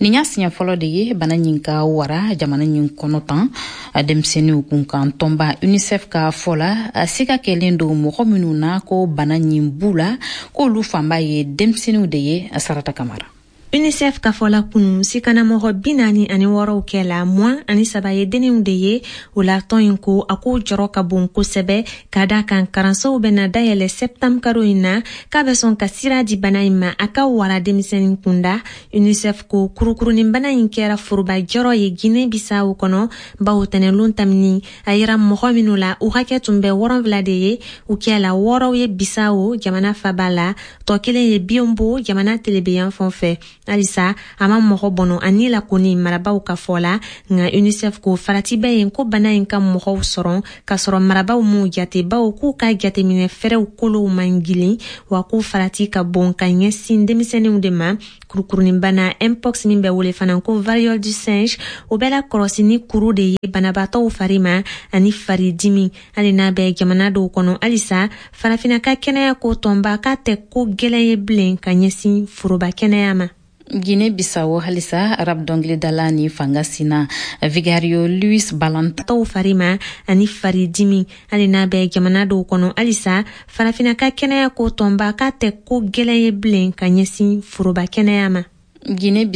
Nin y'a siɲɛ fɔlɔ de ye bana ɲin ka wara jamana ɲin kɔnɔ tan. Denmisɛnninw kunkan tɔnba UNICEF ka fɔ la, siga kɛlen don mɔgɔ minnu na ko bana ɲin b'u la, k'olu fanba ye denmisɛnninw de ye. Sarata Kamara. UNICEF ka fɔ la, kunu sikanamɔgɔ 46 kɛ la, 23 ye denninw de ye. O la, tɔn in ko a ko jɔrɔ ka bon kosɛbɛ, ka da kan karansow bɛna dayɛlɛ sɛptanburu karo in na, k'a bɛ sɔn ka sira di bana in ma a ka wara denmisɛnnin kunda. UNICEF ko kurukurunin bana in kɛra foroba jɔrɔ ye Guinée Bissau kɔnɔ, bawo tɛnɛlon tamini a yira mɔgɔ minnu la, u hakɛ tun bɛ 70 de ye. U kɛla wɔɔrɔw ye Bissau jamana faba la, tɔ kelen ye Biyombo jamana telebeyan fan fɛ. Halisa a ma mɔgɔ bɔnɔ ani la kɔni, marabaw ka fɔ la. Nka UNICEF ko farati bɛ yen ko bana in ka mɔgɔw sɔrɔ k'a sɔrɔ marabaw m'u jate, bawo k'u ka jateminɛ fɛɛrɛw kolow man gilin, wa ko farati ka bon ka ɲɛsin denmisɛnninw de ma. Kurukurunin bana mpox min bɛ wele fana ko variole du singe, o bɛ la kɔlɔsi ni kuru de ye banabaatɔw fari ma ani faridimi. Hali n'a bɛ jamana dɔw kɔnɔ halisa, Farafinna ka kɛnɛya ko tɔnba k'a tɛ ko gwɛlɛn ye bilen ka ɲɛsin foroba kɛnɛya ma. Guinée Bissau halisa, rap dɔnkilidala ni fanga sina Vigario Luis Balanta tɔw fari ma ani faridimi. Hali n'a bɛ jamana dɔw kɔnɔ halisa, Farafinna ka kɛnɛya ko tɔnba k'a tɛ ko gwɛlɛn ye bilen ka ɲɛsin foroba kɛnɛya ma. Guinée.